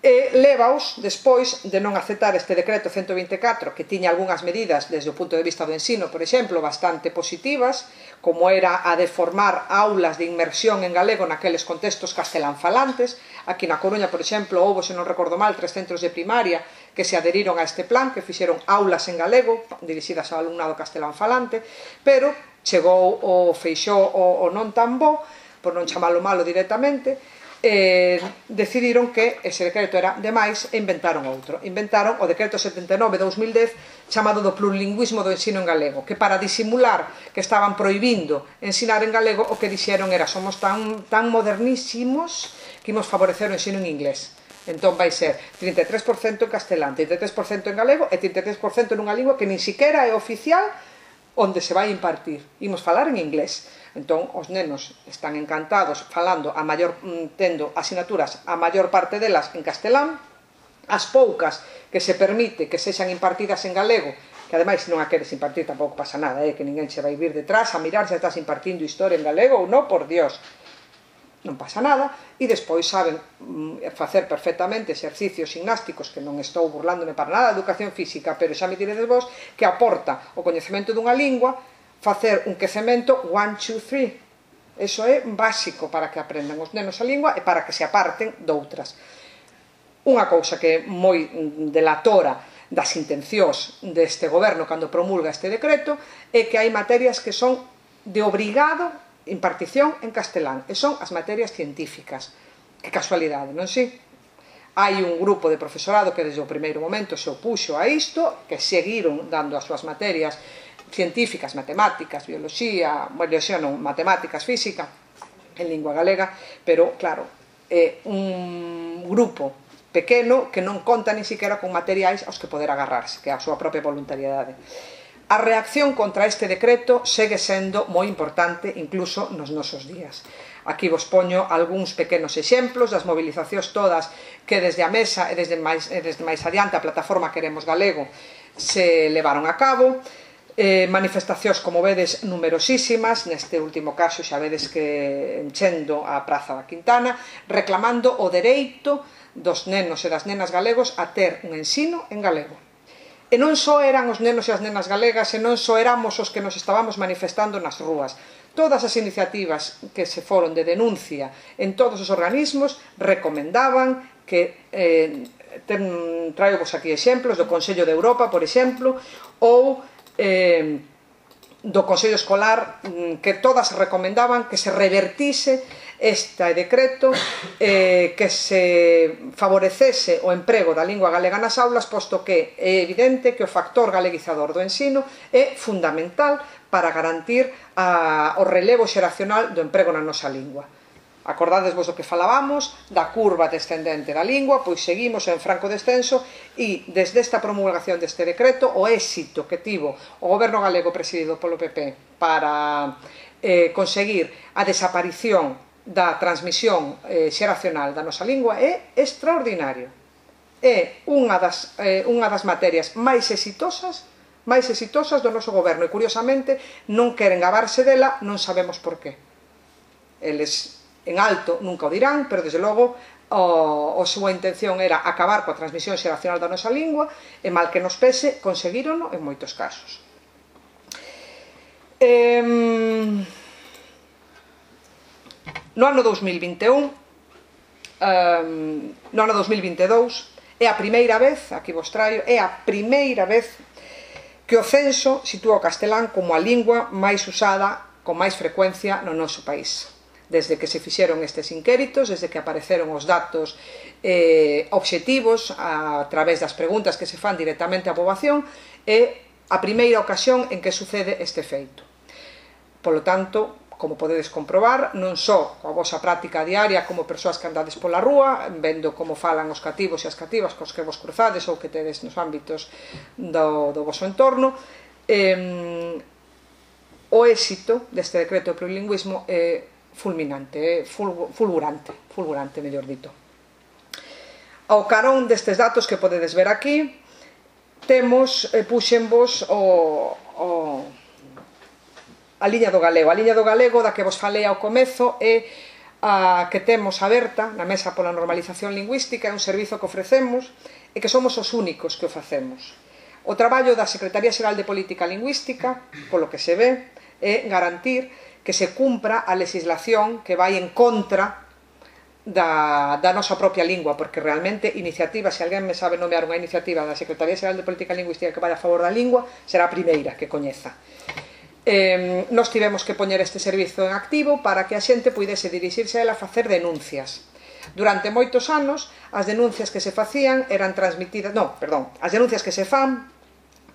e levaos, despois de non aceptar este decreto ciento veinticuatro, que tiña algunhas medidas desde o punto de vista do ensino, por exemplo, bastante positivas, como era a de formar aulas de inmersión en galego naqueles contextos castelanfalantes. Aquí na Coruña, por exemplo, houve, se non recordo mal, tres centros de primaria que se adheriron a este plan, que fixeron aulas en galego dirixidas ao alumnado castelanfalante, pero chegou o Feixóo o, o non tan bo, por non chamalo malo directamente, eh, decidiron que ese decreto era demais e inventaron outro. Inventaron o decreto setenta e nove barra dos mil dez, chamado do plurilingüismo do ensino en galego, que para disimular que estaban prohibindo ensinar en galego, o que dixeron era: somos tan, tan modernísimos que imos favorecer o ensino en inglés. Entón vai ser trinta e tres por cento en castelán, trinta e tres por cento en galego e trinta e tres por cento nunha lingua que nin siquiera é oficial onde se vai impartir. Imos falar en inglés. Entón, os nenos están encantados falando a maior, tendo asignaturas a maior parte delas en castelán, as poucas que se permite que sexan impartidas en galego, que ademais se non a queres impartir tampouco pasa nada, eh, que ninguén se vai vir detrás a mirar se estás impartindo historia en galego ou non, por Dios, non pasa nada. E despois saben facer perfectamente exercicios gimnásticos, que non estou burlándome para nada da educación física, pero xa me diredes vos que aporta o coñecemento dunha lingua facer un quecemento one, two, three. Eso é básico para que aprendan os nenos a lingua e para que se aparten doutras. Unha cousa que é moi delatora das intencións deste goberno cando promulga este decreto é que hai materias que son de obrigado impartición en castelán, e son as materias científicas. Que casualidade, non si? Hai un grupo de profesorado que desde o primeiro momento se opuxo a isto, que seguiron dando as súas materias científicas, matemáticas, bioloxía, bioloxía non, matemáticas, física, en lingua galega, pero, claro, é un grupo pequeno que non conta ni siquiera con materiais aos que poder agarrarse, que é a súa propia voluntariedade. A reacción contra este decreto segue sendo moi importante incluso nos nosos días. Aquí vos poño algúns pequenos exemplos das movilizacións todas que desde a Mesa e desde máis, desde máis adiante a plataforma Queremos Galego se levaron a cabo. Eh, manifestacións, como vedes, numerosísimas, neste último caso xa vedes que enchendo a Praza da Quintana, reclamando o dereito dos nenos e das nenas galegos a ter un ensino en galego. E non só eran os nenos e as nenas galegas, e non só éramos os que nos estábamos manifestando nas rúas. Todas as iniciativas que se foron de denuncia en todos os organismos recomendaban que, eh, ten, traio vos aquí exemplos do Consello de Europa, por exemplo, ou eh, do Consello Escolar, que todas recomendaban que se revertise este decreto, eh, que se favorecese o emprego da lingua galega nas aulas, posto que é evidente que o factor galeguizador do ensino é fundamental para garantir a, o relevo xeracional do emprego na nosa lingua. Acordadesvos do que falábamos, da curva descendente da lingua, pois seguimos en franco descenso, e desde esta promulgación deste decreto, o éxito que tivo o goberno galego presidido polo P P para eh, conseguir a desaparición da transmisión eh, xeracional da nosa lingua é extraordinario. É unha das, eh, unha das materias máis exitosas máis exitosas do noso goberno e, curiosamente, non queren gabarse dela, non sabemos por qué. Eles en alto nunca o dirán, pero desde logo o, a súa intención era acabar coa transmisión xeracional da nosa lingua e, mal que nos pese, conseguírono en moitos casos. Eh, No ano dous mil vinte e un, um, no ano dous mil vinte e dous, é a primeira vez, aquí vos traio, é a primeira vez que o censo sitúa o castelán como a lingua máis usada con máis frecuencia no noso país. Desde que se fixeron estes inquéritos, desde que apareceron os datos eh, obxectivos a través das preguntas que se fan directamente á poboación, é a primeira ocasión en que sucede este feito. Polo tanto, como podedes comprobar, non só coa vosa práctica diaria como persoas que andades pola rúa, vendo como falan os cativos e as cativas cos que vos cruzades ou que tedes nos ámbitos do, do voso entorno, eh, o éxito deste decreto de plurilingüismo é fulminante, é fulgurante, fulgurante, mellor dito. Ao carón destes datos que podedes ver aquí, temos, eh, puxenvos o... o a liña do galego. A liña do galego da que vos falei ao comezo é a que temos aberta na Mesa pola Normalización Lingüística, é un servizo que ofrecemos e que somos os únicos que o facemos. O traballo da Secretaría Xeral de Política Lingüística, polo que se ve, é garantir que se cumpra a legislación que vai en contra da, da nosa propia lingua, porque realmente iniciativa, se alguén me sabe nomear unha iniciativa da Secretaría Xeral de Política Lingüística que vai a favor da lingua, será a primeira que coñeza. Eh, nos tivemos que poñer este servizo en activo para que a xente puidese dirixirse a ela a facer denuncias. Durante moitos anos, as denuncias que se facían eran transmitidas... Non, perdón, as denuncias que se fan,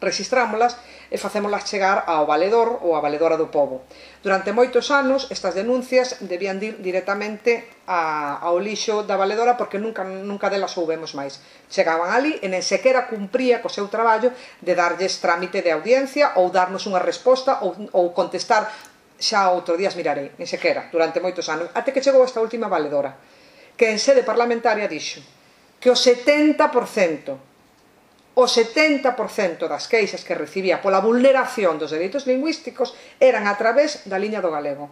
rexistrámolas e facémolas chegar ao valedor ou á valedora do pobo. Durante moitos anos, estas denuncias debían ir directamente a, ao lixo da valedora porque nunca, nunca delas soubemos máis. Chegaban ali e nen sequera cumpría co seu traballo de darlles trámite de audiencia ou darnos unha resposta ou, ou contestar xa outro días mirarei, nen sequera, durante moitos anos, até que chegou esta última valedora, que en sede parlamentaria dixo que o setenta por cento o setenta por cento das queixas que recibía pola vulneración dos dereitos lingüísticos eran a través da liña do galego.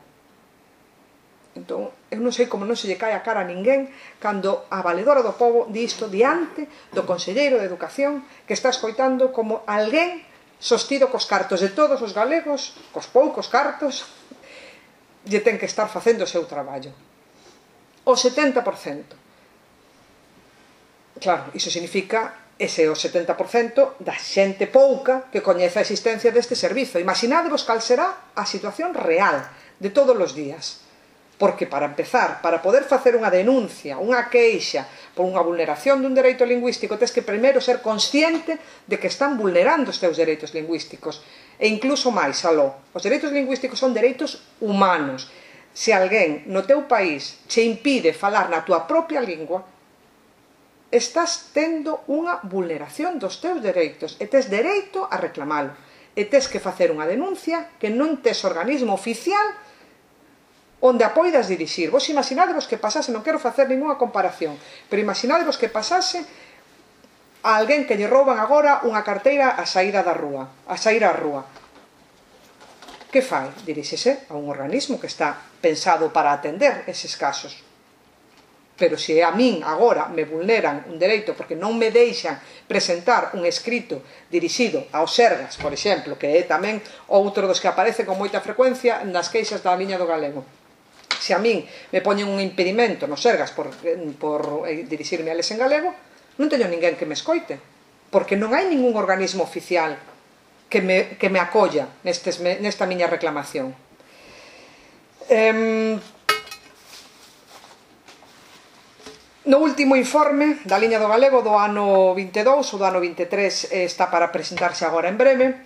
Entón, eu non sei como non se lle cae a cara a ninguén cando a valedora do pobo di isto diante do conselleiro de Educación que está escoitando como alguén sostido cos cartos de todos os galegos, cos poucos cartos, lle ten que estar facendo o seu traballo. O setenta por cento. Claro, iso significa ese o setenta por cento da xente pouca que coñece a existencia deste servizo. Imaginadevos cal será a situación real de todos os días. Porque, para empezar, para poder facer unha denuncia, unha queixa por unha vulneración dun dereito lingüístico, tens que primeiro ser consciente de que están vulnerando os teus dereitos lingüísticos. E incluso máis, aló, os dereitos lingüísticos son dereitos humanos. Se alguén no teu país che impide falar na tua propia lingua, estás tendo unha vulneración dos teus dereitos e tes dereito a reclamalo. E tes que facer unha denuncia que non tes organismo oficial onde a poidas dirixir. Vos imaginadevos que pasase, non quero facer ninguna comparación, pero imaginadevos que pasase a alguén que lle rouban agora unha carteira a saída da rúa, a saír á rúa. Que fai? Diríxese a un organismo que está pensado para atender eses casos. Pero se a min agora me vulneran un dereito porque non me deixan presentar un escrito dirixido aos Sergas, por exemplo, que é tamén outro dos que aparece con moita frecuencia nas queixas da liña do galego. Se a min me poñen un impedimento nos Sergas por, por dirixirme a les en galego, non teño ninguén que me escoite, porque non hai ningún organismo oficial que me, que me acolla nestes, nesta miña reclamación. Eh, No último informe da liña do galego do ano vinte e dous ou do ano vinte e tres está para presentarse agora en breve,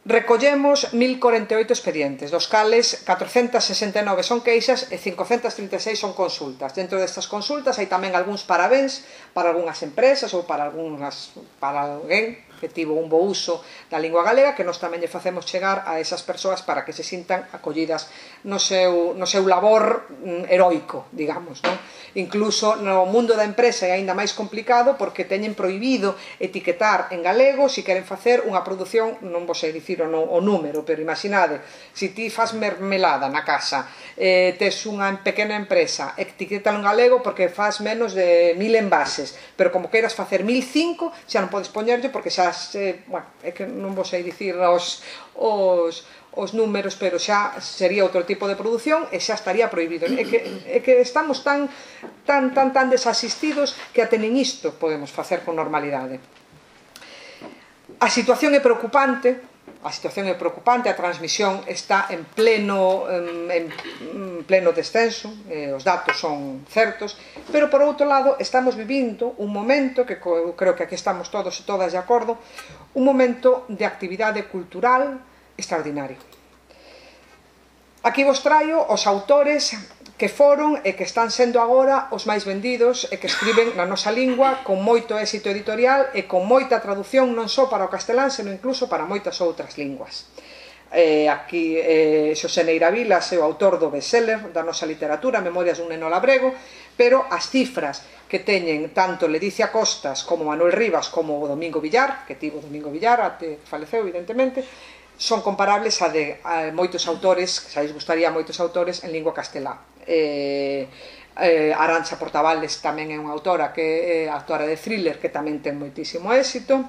recollemos mil corenta e oito expedientes, dos cales catrocentas sesenta e nove son queixas e cincocentas trinta e seis son consultas. Dentro destas consultas hai tamén algúns parabéns para algunhas empresas ou para algunhas, para alguén que tivo un bo uso da lingua galega, que nós tamén lle facemos chegar a esas persoas para que se sintan acollidas no seu, no seu labor heroico, digamos, non? Incluso no mundo da empresa é aínda máis complicado porque teñen prohibido etiquetar en galego se queren facer unha produción, non vos sei dicir o, no, o número, pero imaginade, se ti faz mermelada na casa, eh, tes unha pequena empresa, etiquétalo en galego porque faz menos de mil envases, pero como queiras facer mil cinco, xa non podes poñerlle porque xa, se, bueno, é que non vos sei dicir os, os, os números, pero xa sería outro tipo de produción e xa estaría prohibido. É que, é que estamos tan, tan, tan, tan desasistidos que até nen isto podemos facer con normalidade. A situación é preocupante, a situación é preocupante, a transmisión está en pleno, en, en pleno descenso, eh, os datos son certos, pero por outro lado estamos vivindo un momento, que creo que aquí estamos todos e todas de acordo, un momento de actividade cultural extraordinario. Aquí vos traio os autores que foron e que están sendo agora os máis vendidos e que escriben na nosa lingua con moito éxito editorial e con moita traducción non só para o castelán, senón incluso para moitas outras linguas. Eh, aquí eh, Xosé Neira Vilas é o autor do bestseller da nosa literatura, Memorias dun neno labrego, pero as cifras que teñen tanto Ledicia Costas como Manuel Rivas como o Domingo Villar, que tivo Domingo Villar, até faleceu evidentemente, son comparables a de a moitos autores, que xa lles gustaría a moitos autores en lingua castelá. Eh, eh, Arantxa Portavales tamén é unha autora que é autora de thriller que tamén ten moitísimo éxito,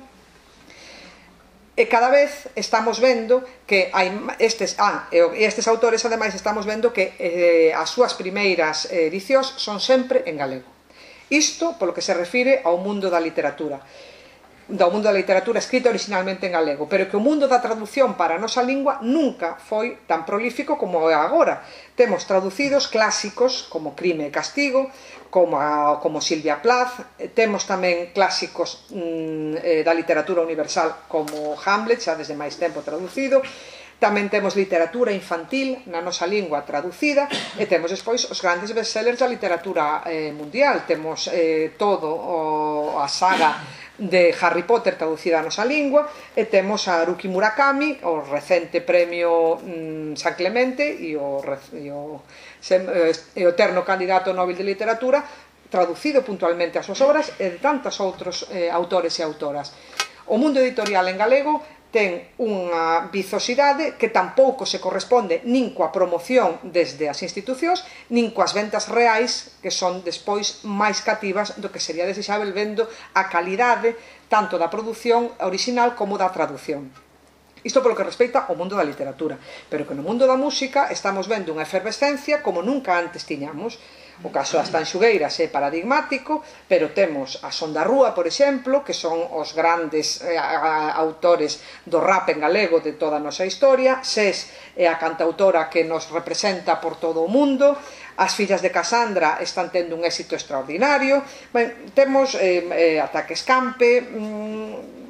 e cada vez estamos vendo que hai estes, ah, e estes autores ademais estamos vendo que eh, as súas primeiras edicións son sempre en galego. Isto polo que se refire ao mundo da literatura do mundo da literatura escrita originalmente en galego, pero que o mundo da traducción para a nosa lingua nunca foi tan prolífico como é agora. Temos traducidos clásicos como Crime e Castigo, como, a, como Silvia Plath, temos tamén clásicos mm, eh, da literatura universal como Hamlet, xa desde máis tempo traducido. Tamén temos literatura infantil na nosa lingua traducida e temos despois os grandes bestsellers da literatura eh, mundial. Temos eh, todo o, a saga de Harry Potter traducida a nosa lingua e temos a Haruki Murakami, o recente premio mm, San Clemente e o, e, o, e o eterno candidato Nobel de Literatura, traducido puntualmente as súas obras e de tantos outros eh, autores e autoras. O mundo editorial en galego ten unha vizosidade que tampouco se corresponde nin coa promoción desde as institucións, nin coas ventas reais, que son despois máis cativas do que sería desexável vendo a calidade tanto da produción original como da traducción. Isto polo que respecta ao mundo da literatura, pero que no mundo da música estamos vendo unha efervescencia como nunca antes tiñamos. O caso das Tanxugueiras é paradigmático, pero temos a Son da Rúa, por exemplo, que son os grandes eh, autores do rap en galego de toda a nosa historia. Sés é a cantautora que nos representa por todo o mundo. As fillas de Casandra están tendo un éxito extraordinario. Ben, temos eh, eh, Ataque Escampe, mm,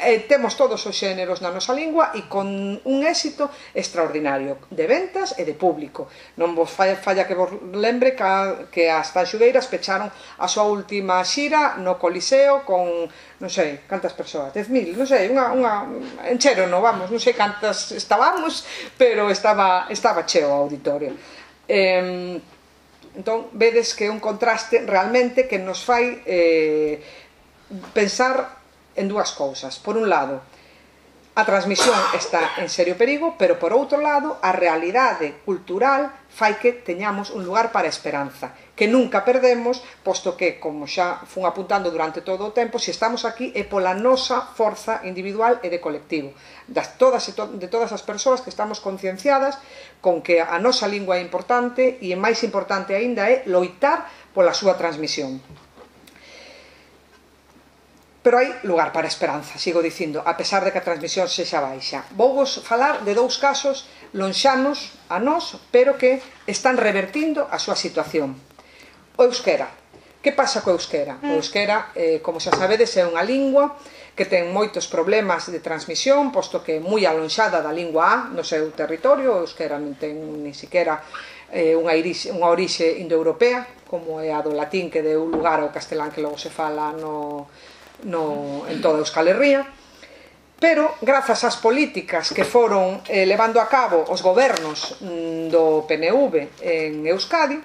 Eh, temos todos os xéneros na nosa lingua e con un éxito extraordinario de ventas e de público. Non vos falla, falla que vos lembre que, a, que as Tanxugueiras pecharon a súa última xira no Coliseo con, non sei, cantas persoas, dez mil, non sei, unha, unha enchero, non vamos, non sei cantas estábamos, pero estaba, estaba cheo o auditorio. Eh, entón, vedes que é un contraste realmente que nos fai eh, pensar en dúas cousas. Por un lado, a transmisión está en serio perigo, pero por outro lado, a realidade cultural fai que teñamos un lugar para a esperanza, que nunca perdemos, posto que, como xa fun apuntando durante todo o tempo, se estamos aquí é pola nosa forza individual e de colectivo, das todas e to de todas as persoas que estamos concienciadas con que a nosa lingua é importante e, máis importante aínda, é loitar pola súa transmisión. Pero hai lugar para a esperanza, sigo dicindo, a pesar de que a transmisión sexa baixa. Vou vos falar de dous casos lonxanos a nós, pero que están revertindo a súa situación. O euskera. Que pasa co euskera? O euskera, eh, como xa sabedes, é unha lingua que ten moitos problemas de transmisión, posto que é moi alonxada da lingua A no seu territorio. O euskera non ten ni siquiera eh, unha, irixe, unha orixe indoeuropea, como é a do latín que deu lugar ao castelán que logo se fala no... No, en toda Euskal Herria, Pero, grazas ás políticas que foron eh, levando a cabo os gobernos mm, do P N V en Euskadi,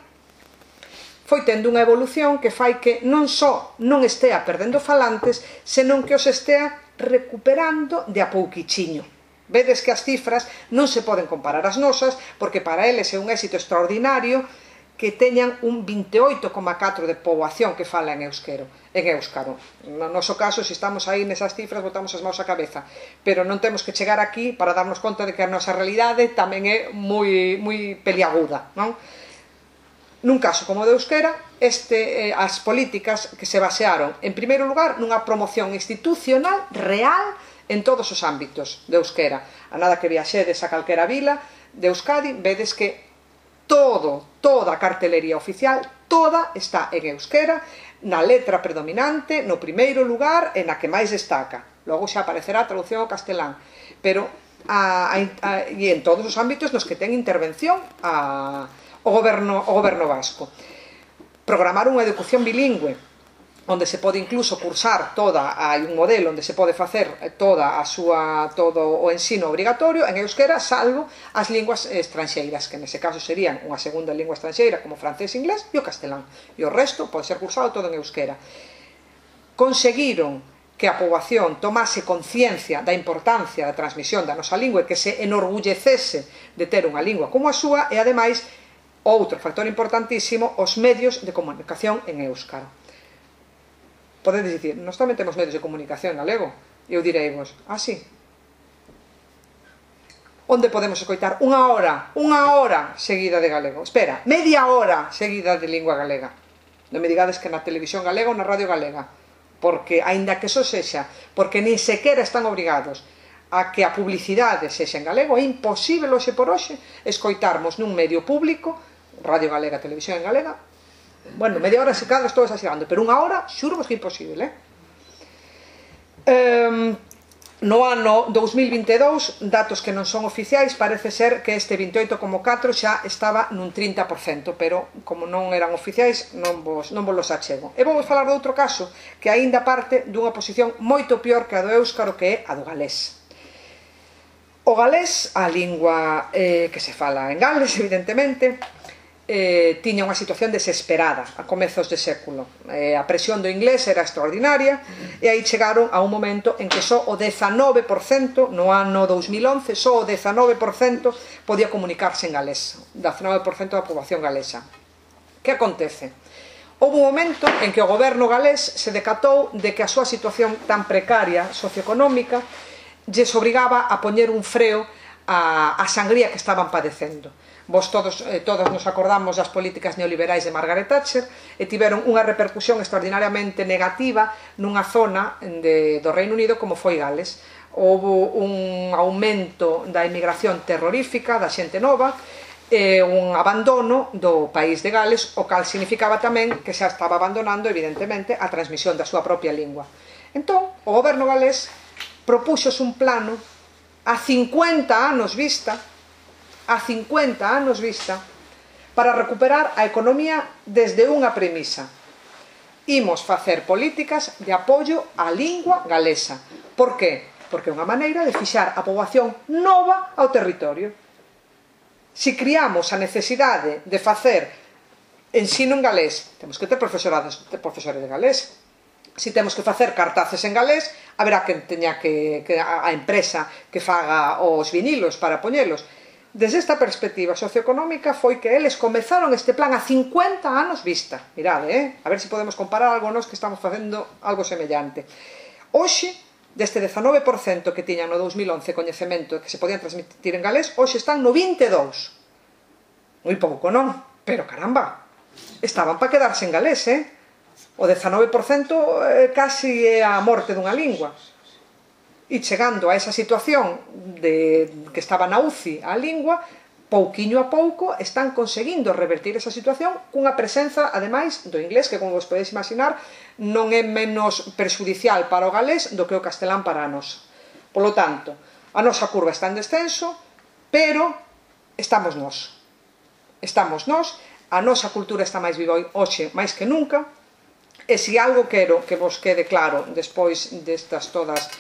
foi tendo unha evolución que fai que non só non estea perdendo falantes, senón que os estea recuperando de a pouquichiño. Vedes que as cifras non se poden comparar ás nosas, porque para eles é un éxito extraordinario que teñan un veintioito coma catro de poboación que fala en euskero, en éuskaro. No noso caso, se estamos aí nesas cifras, botamos as mãos á cabeza, pero non temos que chegar aquí para darnos conta de que a nosa realidade tamén é moi, moi peliaguda, non? Nun caso como o de euskera, este, eh, as políticas que se basearon, en primeiro lugar, nunha promoción institucional real en todos os ámbitos de euskera. A nada que viaxedes a calquera vila de Euskadi, vedes que todo, toda a cartelería oficial, toda está en euskera, na letra predominante, no primeiro lugar e na que máis destaca. Logo xa aparecerá a traducción ao castelán, pero a, a, a, e en todos os ámbitos nos que ten intervención a o goberno, o goberno vasco. Programar unha educación bilingüe, onde se pode incluso cursar toda, hai un modelo onde se pode facer toda a súa, todo o ensino obrigatorio en euskera, salvo as linguas estranxeiras, que nese caso serían unha segunda lingua estranxeira como francés, inglés e o castelán. E o resto pode ser cursado todo en euskera. Conseguiron que a poboación tomase conciencia da importancia da transmisión da nosa lingua e que se enorgullecese de ter unha lingua como a súa, e ademais, outro factor importantísimo, os medios de comunicación en éuskaro. Podedes dicir, nós tamén temos medios de comunicación en galego. E eu direivos, ah, sí. Onde podemos escoitar unha hora, unha hora seguida de galego? Espera, media hora seguida de lingua galega. Non me digades que na televisión galega ou na radio galega. Porque, aínda que eso sexa, porque nin sequera están obrigados a que a publicidade sexa en galego, é imposible hoxe por hoxe escoitarmos nun medio público, radio galega, televisión en galega, bueno, media hora se cadra estou exagerando, pero unha hora, xurvos que é imposible, eh? Um, no ano dous mil vinte e dous, datos que non son oficiais, parece ser que este veintioito coma catro xa estaba nun trinta por cento, pero como non eran oficiais, non vos, non vos los achego. E vou falar de outro caso, que aínda parte dunha posición moito pior que a do éuskaro, que é a do galés. O galés, a lingua eh, que se fala en Gales, evidentemente, eh, tiña unha situación desesperada a comezos de século. Eh, a presión do inglés era extraordinaria e aí chegaron a un momento en que só o dezanove por cento, no ano dous mil once, só o dezanove por cento podía comunicarse en galés, dezanove por cento da poboación galesa. Que acontece? Houve un momento en que o goberno galés se decatou de que a súa situación tan precaria socioeconómica lles obrigaba a poñer un freo a, a sangría que estaban padecendo. Vos todos, eh, todos nos acordamos das políticas neoliberais de Margaret Thatcher e tiveron unha repercusión extraordinariamente negativa nunha zona de, do Reino Unido como foi Gales. Houve un aumento da emigración terrorífica, da xente nova, e un abandono do país de Gales, o cal significaba tamén que xa estaba abandonando, evidentemente, a transmisión da súa propia lingua. Entón, o goberno galés propuxos un plano a cincuenta anos vista, a cincuenta anos vista, para recuperar a economía desde unha premisa. Imos facer políticas de apoio á lingua galesa. Por que? Porque é unha maneira de fixar a poboación nova ao territorio. Se criamos a necesidade de facer ensino en galés, temos que ter profesorados, ter profesores de galés. Se temos que facer cartaces en galés, haberá que teña que, que a, a empresa que faga os vinilos para poñelos. Desde esta perspectiva socioeconómica foi que eles comezaron este plan a cincuenta anos vista. Mirade, eh? A ver se podemos comparar algo nos que estamos facendo algo semellante. Hoxe, deste dezanove por cento que tiñan no dous mil once coñecemento que se podían transmitir en galés, hoxe están no vinte e dous. Moi pouco, non? Pero caramba, estaban para quedarse en galés, eh? O dezanove por cento eh, casi é a morte dunha lingua. E chegando a esa situación de que estaba na U C I a lingua, pouquiño a pouco están conseguindo revertir esa situación cunha presenza, ademais, do inglés, que como vos podedes imaginar, non é menos perxudicial para o galés do que o castelán para nós. Polo tanto, a nosa curva está en descenso, pero estamos nós. Estamos nós, a nosa cultura está máis viva hoxe máis que nunca, e se algo quero que vos quede claro despois destas todas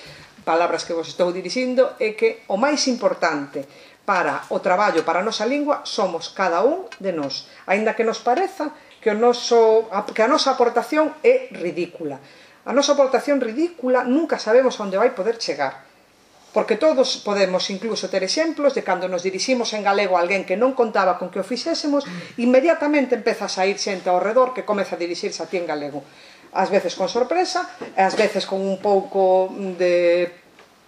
palabras que vos estou dirixindo, é que o máis importante para o traballo, para a nosa lingua, somos cada un de nós, aínda que nos pareza que, o noso, que a nosa aportación é ridícula. A nosa aportación ridícula nunca sabemos onde vai poder chegar, porque todos podemos incluso ter exemplos de cando nos diriximos en galego a alguén que non contaba con que o fixésemos, inmediatamente empeza a sair xente ao redor que comeza a dirixirse a ti en galego, ás veces con sorpresa, ás veces con un pouco de...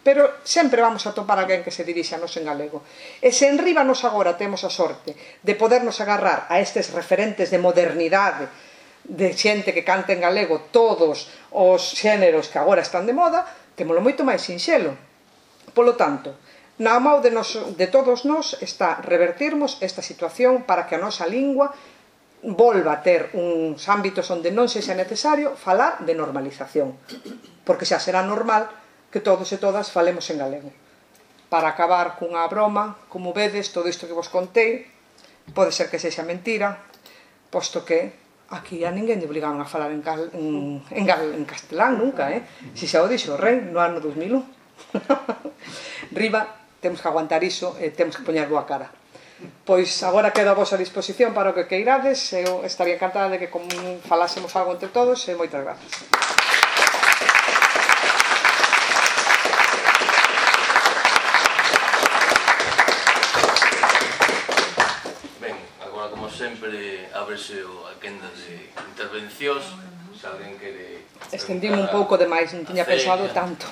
pero sempre vamos a topar alguén que se dirixe a nos en galego. E se enriba nos agora temos a sorte de podernos agarrar a estes referentes de modernidade, de xente que canta en galego todos os xéneros que agora están de moda, témolo moito máis sinxelo. Polo tanto, na mão de, nos, de todos nós está revertirmos esta situación para que a nosa lingua volva a ter uns ámbitos onde non sexa necesario falar de normalización, porque xa será normal que todos e todas falemos en galego. Para acabar cunha broma, como vedes, todo isto que vos contei pode ser que sexa mentira, posto que aquí a ninguén lle obligaron a falar en, gal, en, en, gal, en castelán nunca, eh? Si xa o dixo o rei no ano dos mil un. Riba, temos que aguantar iso e temos que poñer boa cara. Pois agora quedo a vosa disposición para o que queirades. Eu estaría encantada de que falásemos algo entre todos e moitas gracias. Ben, agora como sempre ábrese a quenda de intervencións. Se alguén quere... Estendime un pouco demais, non tiña pensado tanto.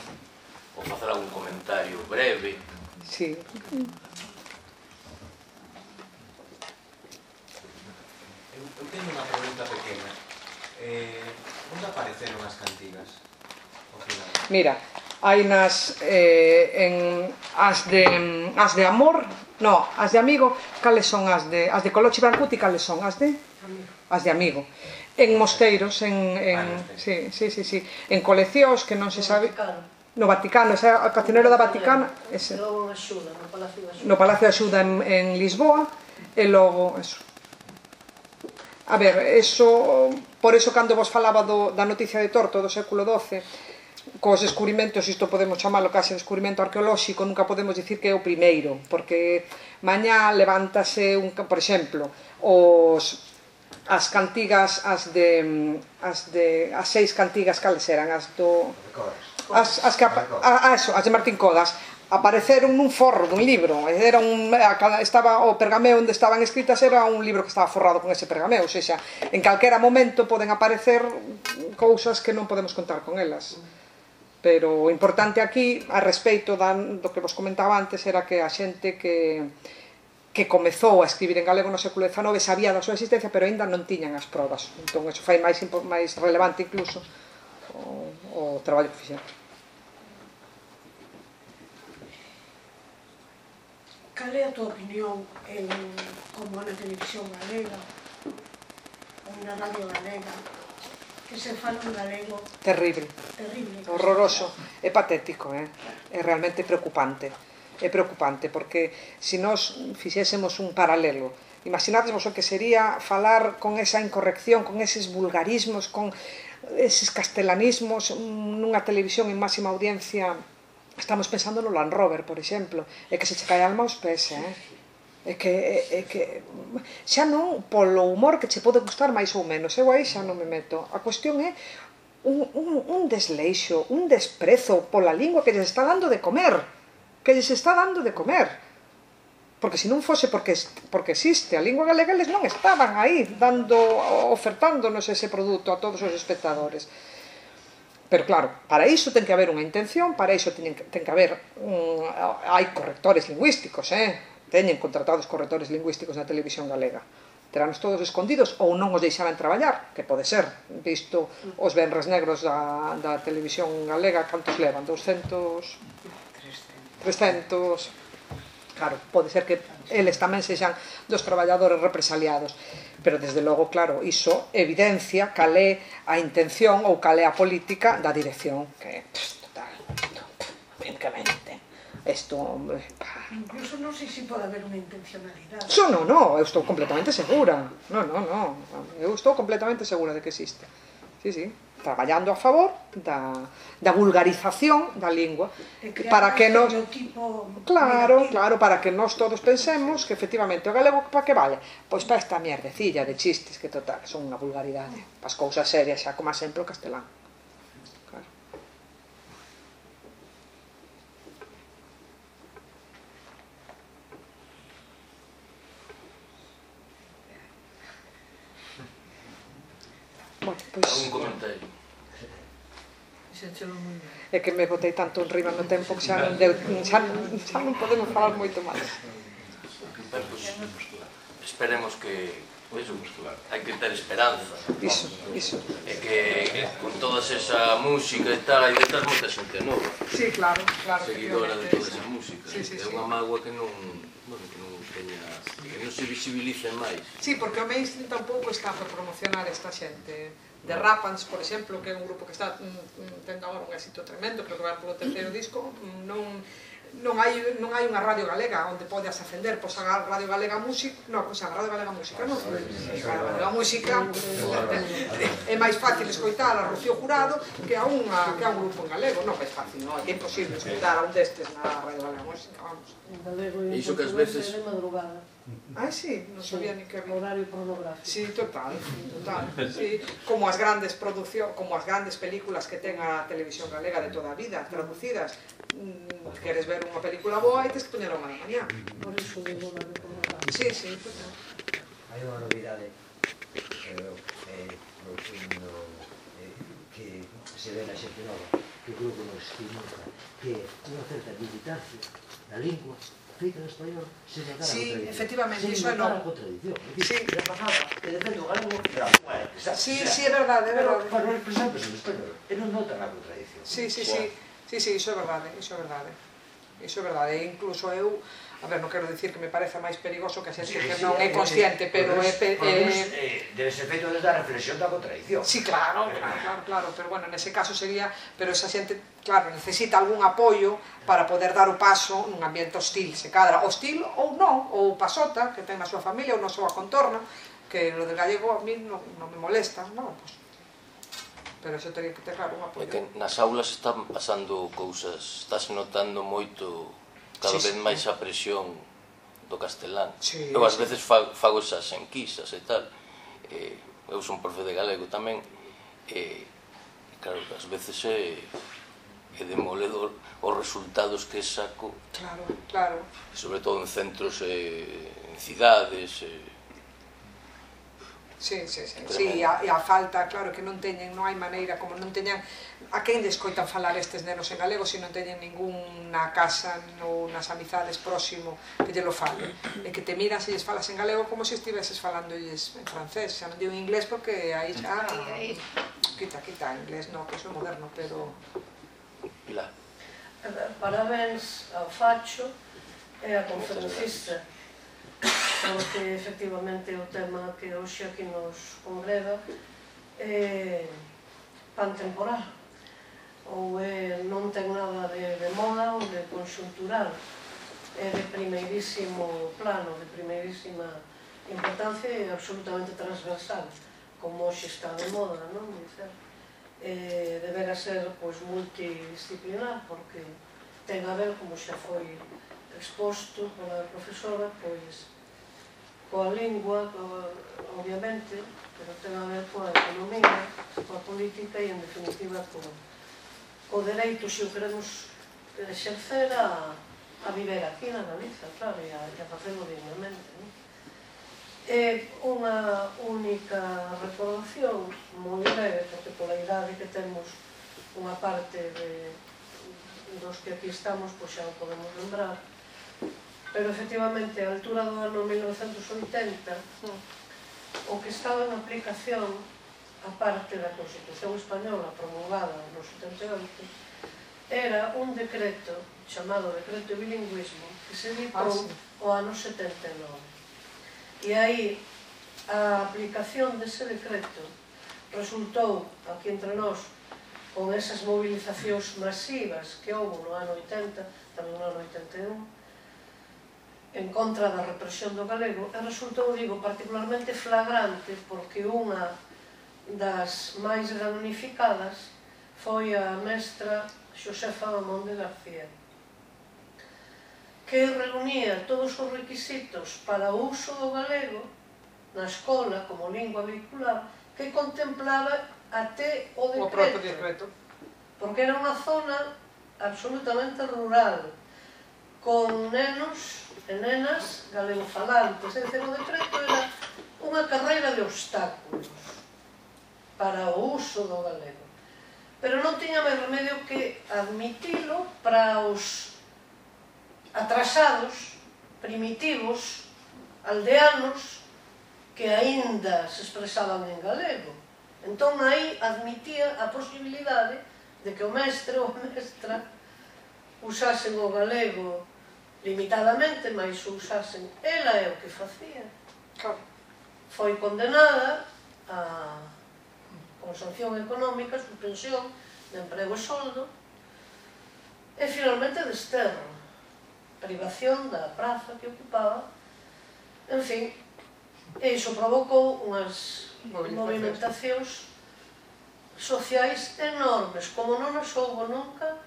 Ou facer algún comentario breve. Sí. Eu, eu teño unha pregunta pequena. Eh, onde apareceron as cantigas? Mira, hai nas eh, en as de as de amor, no, as de amigo, cales son as de as de Colochi Brancuti, cales son as de as de amigo. En mosteiros, en en sí, sí, sí, sí, en coleccións que non se sabe. No Vaticano, ese o cancionero da Vaticana, ese. No Axuda, no Palacio de Axuda. No Palacio de Axuda en, en Lisboa, e logo eso. A ver, eso, por eso cando vos falaba do, da noticia de Torto do século doce, cos descubrimentos, isto podemos chamalo case descubrimento arqueolóxico, nunca podemos dicir que é o primeiro, porque mañá levántase un, por exemplo, os as cantigas, as de as de as seis cantigas cales eran, as do As, as, que, a, a eso, as de Martín Codas apareceron nun forro dun libro, era un, estaba, o pergameo onde estaban escritas era un libro que estaba forrado con ese pergameo, ou seja, en calquera momento poden aparecer cousas que non podemos contar con elas, pero o importante aquí a respeito da, do que vos comentaba antes era que a xente que que comezou a escribir en galego no século dezanove sabía da súa existencia, pero aínda non tiñan as probas, entón eso fai máis, máis relevante incluso o, o traballo que fixeron. Cal é a tua opinión en como na televisión galega ou na radio galega que se fala en galego? Terrible, terrible, horroroso, é patético, eh? É realmente preocupante, é preocupante, porque se nós fixésemos un paralelo, imaginades vos o que sería falar con esa incorrección, con eses vulgarismos, con eses castelanismos nunha televisión en máxima audiencia. Estamos pensando no Land Rover, por exemplo, é que se che cae a alma aos pés, eh? É que, é, é que xa non polo humor que che pode gustar máis ou menos, eu aí xa non me meto. A cuestión é un, un, un desleixo, un desprezo pola lingua que lles está dando de comer, que lles está dando de comer. Porque se non fose porque, porque existe a lingua galega, eles non estaban aí dando, ofertándonos ese produto a todos os espectadores. Pero claro, para iso ten que haber unha intención, para iso ten que, ten que haber un, hai correctores lingüísticos, eh? Teñen contratados correctores lingüísticos na televisión galega. Teranos todos escondidos ou non os deixaran traballar, que pode ser, visto os venres negros da, da televisión galega, cantos levan? doscentos? trescentos? Claro, pode ser que eles tamén sexan dos traballadores represaliados. Pero, desde logo, claro, iso evidencia cal é a intención ou cal é a política da dirección, que, pff, total, isto, francamente, isto, pá. Incluso non sei se pode haber unha intencionalidade. Iso non, non, eu estou completamente segura. Non, non, non, eu estou completamente segura de que existe. sí, sí, traballando a favor da, da vulgarización da lingua, para que nos... Claro, claro, para que nós todos pensemos que efectivamente o galego para que vale? Pois para esta mierdecilla de chistes que total son unha vulgaridade, para as cousas serias xa como sempre o castelán. Claro. Bueno, pois... Algún comentario? É que me botei tanto en riba no tempo que xa non, deu, xa, xa non podemos falar moito máis. Ben, pois, esperemos que eso, hai que ter esperanza. Iso, iso. E que con toda esa música e tal, hai detrás moita xente nova. Sí, claro, claro. Seguidora de toda esa música. Sí, sí, é sí. unha mágoa que non, bueno, que non teña, que non se visibilice máis. Sí, porque o mainstream tampouco está para promocionar esta xente. De Rapans, por exemplo, que é un grupo que está mm, tendo agora un éxito tremendo, creo que vai polo terceiro disco, non... non hai, non hai unha radio galega onde podes ascender, pois a Radio Galega Música, non, pois a Radio Galega Música, non, a Radio Galega Música é máis fácil escoitar a Rocío Jurado que a, unha, que a un grupo en galego, non é fácil, non, é imposible escoitar a un destes na Radio Galega Música, vamos. E iso que ás veces... Ah, sí, non sabía ni que había. Horario pornográfico. Sí, total, total. Sí, como as grandes produccións, como as grandes películas que ten a televisión galega de toda a vida, traducidas. Queres ver unha película boa e tens que poñer unha da mañá. Por iso digo horario pornográfico. Sí, sí, total. Hai unha novidade que se ve na xente nova, que creo que nos estimula, que unha certa militancia da lingua feita en español se negar a Sí, contradición. efectivamente, Se iso é negar a non. contradición. Sí. Já pasaba que defende o galego, pero Sí, sí, é verdade, é verdade. Pero non expresamos en español, e non notan a contradición. Sí, sí, sí. Sí, sí, iso é verdade, iso é verdade. Iso é verdade, e incluso eu, a ver, non quero dicir que me pareza máis perigoso que a xente que non é consciente, pero é... Debe ser feito desde a reflexión da contradición. Sí, claro, claro, claro, claro, pero bueno, nese caso sería, pero esa xente, claro, necesita algún apoio para poder dar o paso nun ambiente hostil, se cadra, hostil ou non, ou pasota, que ten a súa familia ou na súa contorna, que lo del gallego a mí non, non me molesta, non, pues, pero eso teria que ter, claro, un apoio. É que nas aulas están pasando cousas, estáse notando moito, cada Sí, vez sí. máis a presión do castelán. Sí, Eu ás sí. veces fa- fago esas enquisas e tal, e eu son profe de galego tamén, e claro, ás veces é, é demoledor os resultados que saco, Claro, claro. sobre todo en centros, e, en cidades, e, Sí, sí, sí, sí, e a, e a falta, claro, que non teñen, non hai maneira, como non teñan, a quen descoitan falar estes nenos en galego se non teñen ninguna casa ou nas amizades próximo que lle lo fale, e que te miran se lles falas en galego como se estiveses falándoles en francés, xa non digo en inglés porque aí xa, quita, quita, inglés no, que iso é moderno, pero... Pilar. Parabéns ao Facho e a conferencista, porque efectivamente o tema que hoxe aquí nos congrega é pantemporal, ou é, non ten nada de, de moda ou de conxuntural, é de primeirísimo plano, de primeirísima importancia e absolutamente transversal, como hoxe está de moda, non? Dicer, eh, debera ser pois, multidisciplinar, porque ten a ver, como xa foi exposto pola profesora, pois, coa lingua, coa, obviamente, pero ten a ver coa economía, coa política e, en definitiva, co, co dereito, se o queremos exercer, a, a viver aquí na Galiza, claro, e a, a facelo dignamente. Non? É unha única recordación, moi breve, porque pola idade que temos unha parte de, dos que aquí estamos, pois xa o podemos lembrar, pero efectivamente, a altura do ano mil novecentos e oitenta, o que estaba en aplicación, a parte da Constitución Española promulgada no setenta e oito, era un decreto chamado Decreto de Bilingüismo que se editou o ano setenta e nove. E aí, a aplicación dese decreto resultou, aquí entre nós, con esas movilizacións masivas que houve no ano oitenta, tamén no ano oitenta e un, en contra da represión do galego, e resultou, digo, particularmente flagrante porque unha das máis damnificadas foi a mestra Xosefa Amonde García, que reunía todos os requisitos para o uso do galego na escola como lingua vehicular, que contemplaba até o decreto, o propio decreto, porque era unha zona absolutamente rural, con nenos e nenas galegofalantes, é dicir, o decreto era unha carreira de obstáculos para o uso do galego. Pero non tiña máis remedio que admitilo para os atrasados, primitivos, aldeanos, que aínda se expresaban en galego. Entón, aí admitía a posibilidade de que o mestre ou a mestra usasen o galego limitadamente, mas usasen. Ela é o que facía. Foi condenada a, con sanción económica, suspensión de emprego e soldo, e finalmente desterro, privación da praza que ocupaba. En fin, e iso provocou unhas movimentacións sociais enormes, como non as houbo nunca,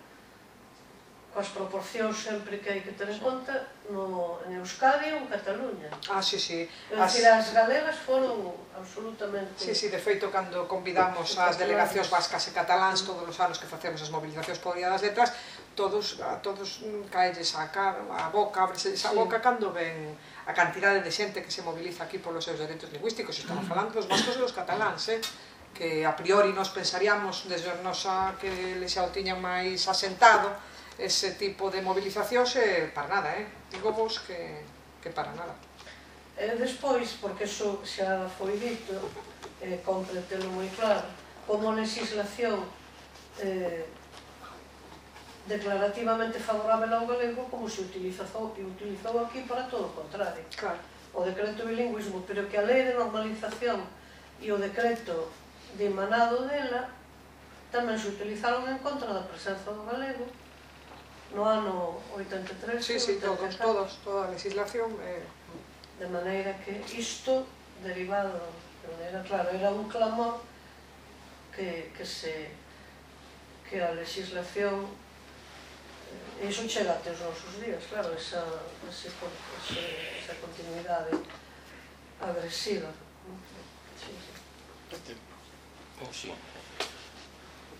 coas proporcións sempre que hai que ter en conta no, en Euskadi ou en Cataluña. Ah, sí, sí. É dicir, as galegas foron absolutamente... Sí, sí, de feito, cando convidamos as delegacións vascas e cataláns todos os anos que facemos as movilizacións por Día das Letras, todos, a todos caelles a, cara, a boca, abreselles a boca cando ven a cantidade de xente que se moviliza aquí polos seus dereitos lingüísticos. Estamos falando dos vascos e dos cataláns, eh? Que a priori nos pensaríamos, desde nosa que les xa o tiñan máis asentado, ese tipo de movilizacións, eh, para nada, eh? Digo vos que, que para nada. E despois, porque iso xa foi dito, eh, compre telo moi claro, como legislación eh, declarativamente favorável ao galego, como se utilizou, utilizou aquí para todo o contrario. Claro. O decreto bilingüismo, pero que a lei de normalización e o decreto de emanado dela tamén se utilizaron en contra da presenza do galego no ano oitenta e tres. Sí, sí, todos, todos, toda a legislación. Eh... De maneira que isto derivado, era claro, era un clamor que, que se que a legislación, e iso chega até os nosos días, claro, esa, esa, esa, esa continuidade agresiva. Sí, sí. Sí.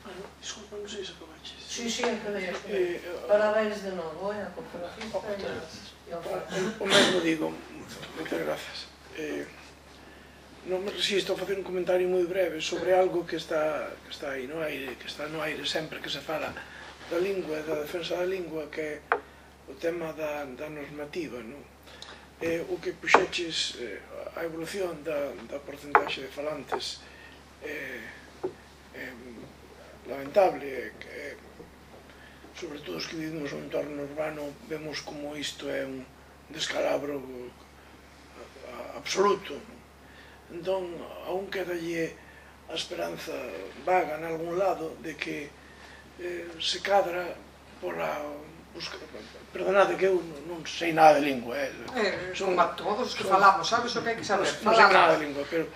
Bueno, disculpa, non sei se acabaches. Sí, sí, acabei, acabei. Parabéns de novo, eh, a cooperativa e ao Facho. O mesmo digo, moitas grazas. Eh, non me resisto a facer un comentario moi breve sobre algo que está, que está aí no aire, que está no aire sempre que se fala da lingua e da defensa da lingua, que é o tema da, da normativa, non? Eh, o que puxeches eh, a evolución da, da porcentaxe de falantes eh, eh, lamentable, eh, sobre todo os que vivimos no entorno urbano, vemos como isto é un descalabro absoluto. Entón, aún quedalle a esperanza vaga en algún lado de que eh, se cadra pola... Busca, perdonade que eu non sei nada de lingua, eh. Eh, son a todos os que falamos, sabes o que hai que saber? Non sei nada de lingua, pero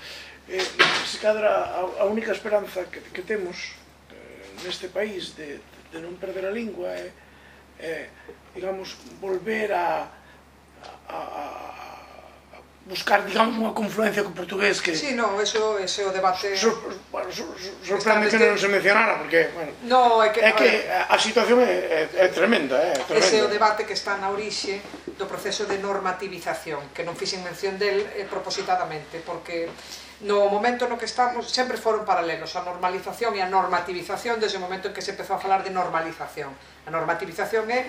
eh, se cadra a, a única esperanza que, que temos eh, neste país de, de non perder a lingua é, eh, digamos, volver a, a, a buscar, digamos, unha confluencia co portugués que... Sí, no, eso, ese o debate... Sor, bueno, sor, sorprende que non se mencionara, porque, bueno... No, é que, é que a, a situación é, é, é tremenda, é tremenda. Ese é o debate que está na orixe do proceso de normativización, que non fixen mención del eh, propositadamente, porque no momento no que estamos sempre foron paralelos, a normalización e a normativización desde o momento en que se empezou a falar de normalización. A normativización é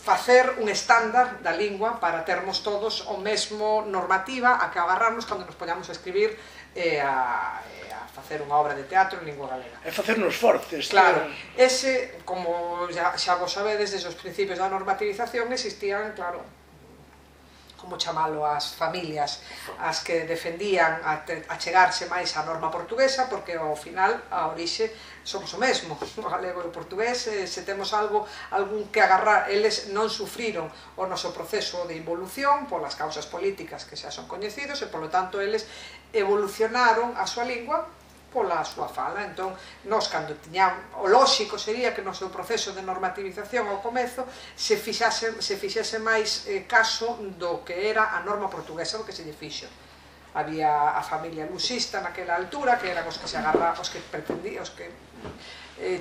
facer un estándar da lingua para termos todos o mesmo normativa a que agarrarnos cando nos poñamos a escribir e a, e a facer unha obra de teatro en lingua galega. É facernos fortes. Claro, ese, como xa, xa vos sabedes, desde os principios da normativización existían, claro, como chamalo, as familias as que defendían a, te, a chegarse máis á norma portuguesa, porque ao final a orixe somos o mesmo, o galego e o portugués, se temos algo, algún que agarrar, eles non sufriron o noso proceso de involución polas causas políticas que xa son coñecidos e, polo tanto, eles evolucionaron a súa lingua pola súa fala. Entón, nós, cando tiñamos, o lóxico sería que no seu proceso de normativización ao comezo se fixase, se fixese máis eh, caso do que era a norma portuguesa, do que se lle fixo. Había a familia lusista naquela altura, que eran os que se agarra, os que pretendían, os que eh,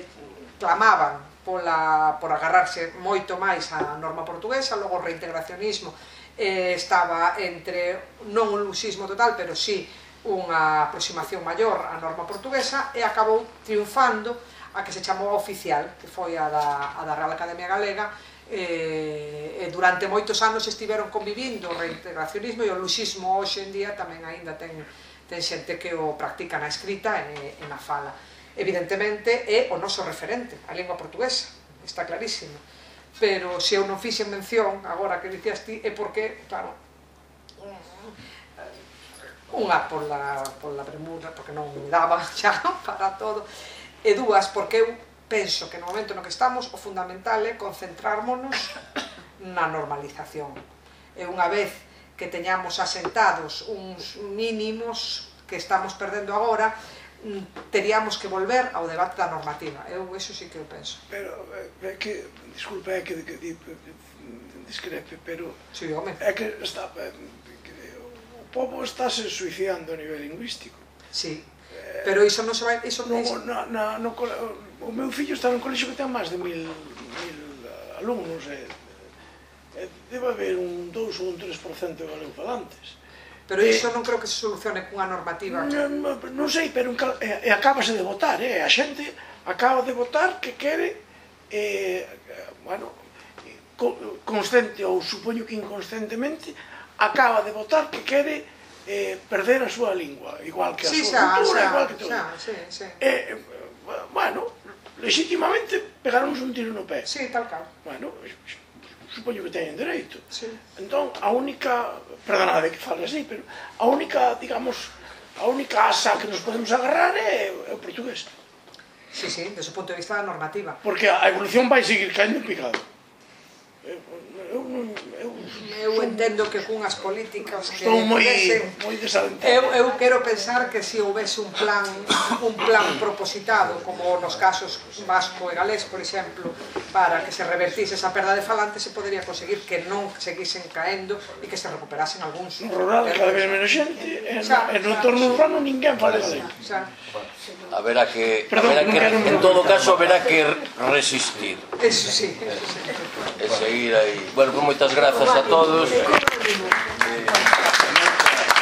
clamaban pola, por agarrarse moito máis á norma portuguesa. Logo o reintegracionismo eh, estaba entre, non un lusismo total, pero sí unha aproximación maior á norma portuguesa, e acabou triunfando a que se chamou a oficial, que foi a da, a da Real Academia Galega. E, e durante moitos anos estiveron convivindo o reintegracionismo e o luxismo. Hoxe en día tamén aínda ten, ten xente que o practica na escrita e, e na fala. Evidentemente é o noso referente, a lingua portuguesa, está clarísimo, pero se eu non fixen mención agora que dicías ti é porque, claro, unha pola, pola premura, porque non me daba xa para todo, e dúas porque eu penso que no momento no que estamos o fundamental é concentrármonos na normalización. E unha vez que teñamos asentados uns mínimos que estamos perdendo agora, teríamos que volver ao debate da normativa. Eu eso sí que eu penso. Pero, é que, disculpa, é que, que, que discrepe, pero sí, home. É que está, que, o povo estáse suicidando a nivel lingüístico. Sí, pero iso non se vai... Iso no, na, na, no, o meu fillo está nun colexio que ten máis de mil, mil alumnos, e, e debe haber un dous ou un tres por cento de galegofalantes. Pero iso non creo que se solucione cunha normativa. Non, non sei, pero e, e acabase de votar, eh? A xente acaba de votar que quere, eh, bueno, consciente ou supoño que inconscientemente, acaba de votar que quere eh, perder a súa lingua, igual que a sí, súa xa, cultura, xa, igual que todo. Xa, sí, sí. Eh, bueno, legítimamente pegaronnos un tiro no pé. Sí, tal cal. Bueno, supoño que teñen dereito. Sí. Entón, a única, perdonade que fale así, pero a única, digamos, a única asa que nos podemos agarrar é, é o portugués. Sí, sí, desde o punto de vista da normativa. Porque a evolución vai seguir caendo en picado. Eu, eu, eu, eu entendo que cunhas políticas que estou moi, pudesen, moi desalentado. Eu, eu quero pensar que se houvese un plan un plan propositado, como nos casos vasco e galés, por exemplo, para que se revertise esa perda de falantes, se podería conseguir que non seguisen caendo e que se recuperasen algúns. No rural cada vez menos xente, e no entorno urbano ninguén fala galego. Haberá que, haberá que, en todo caso, haberá que resistir. Eso sí, eso sí. E seguir aí. Bueno, pues moitas grazas a todos.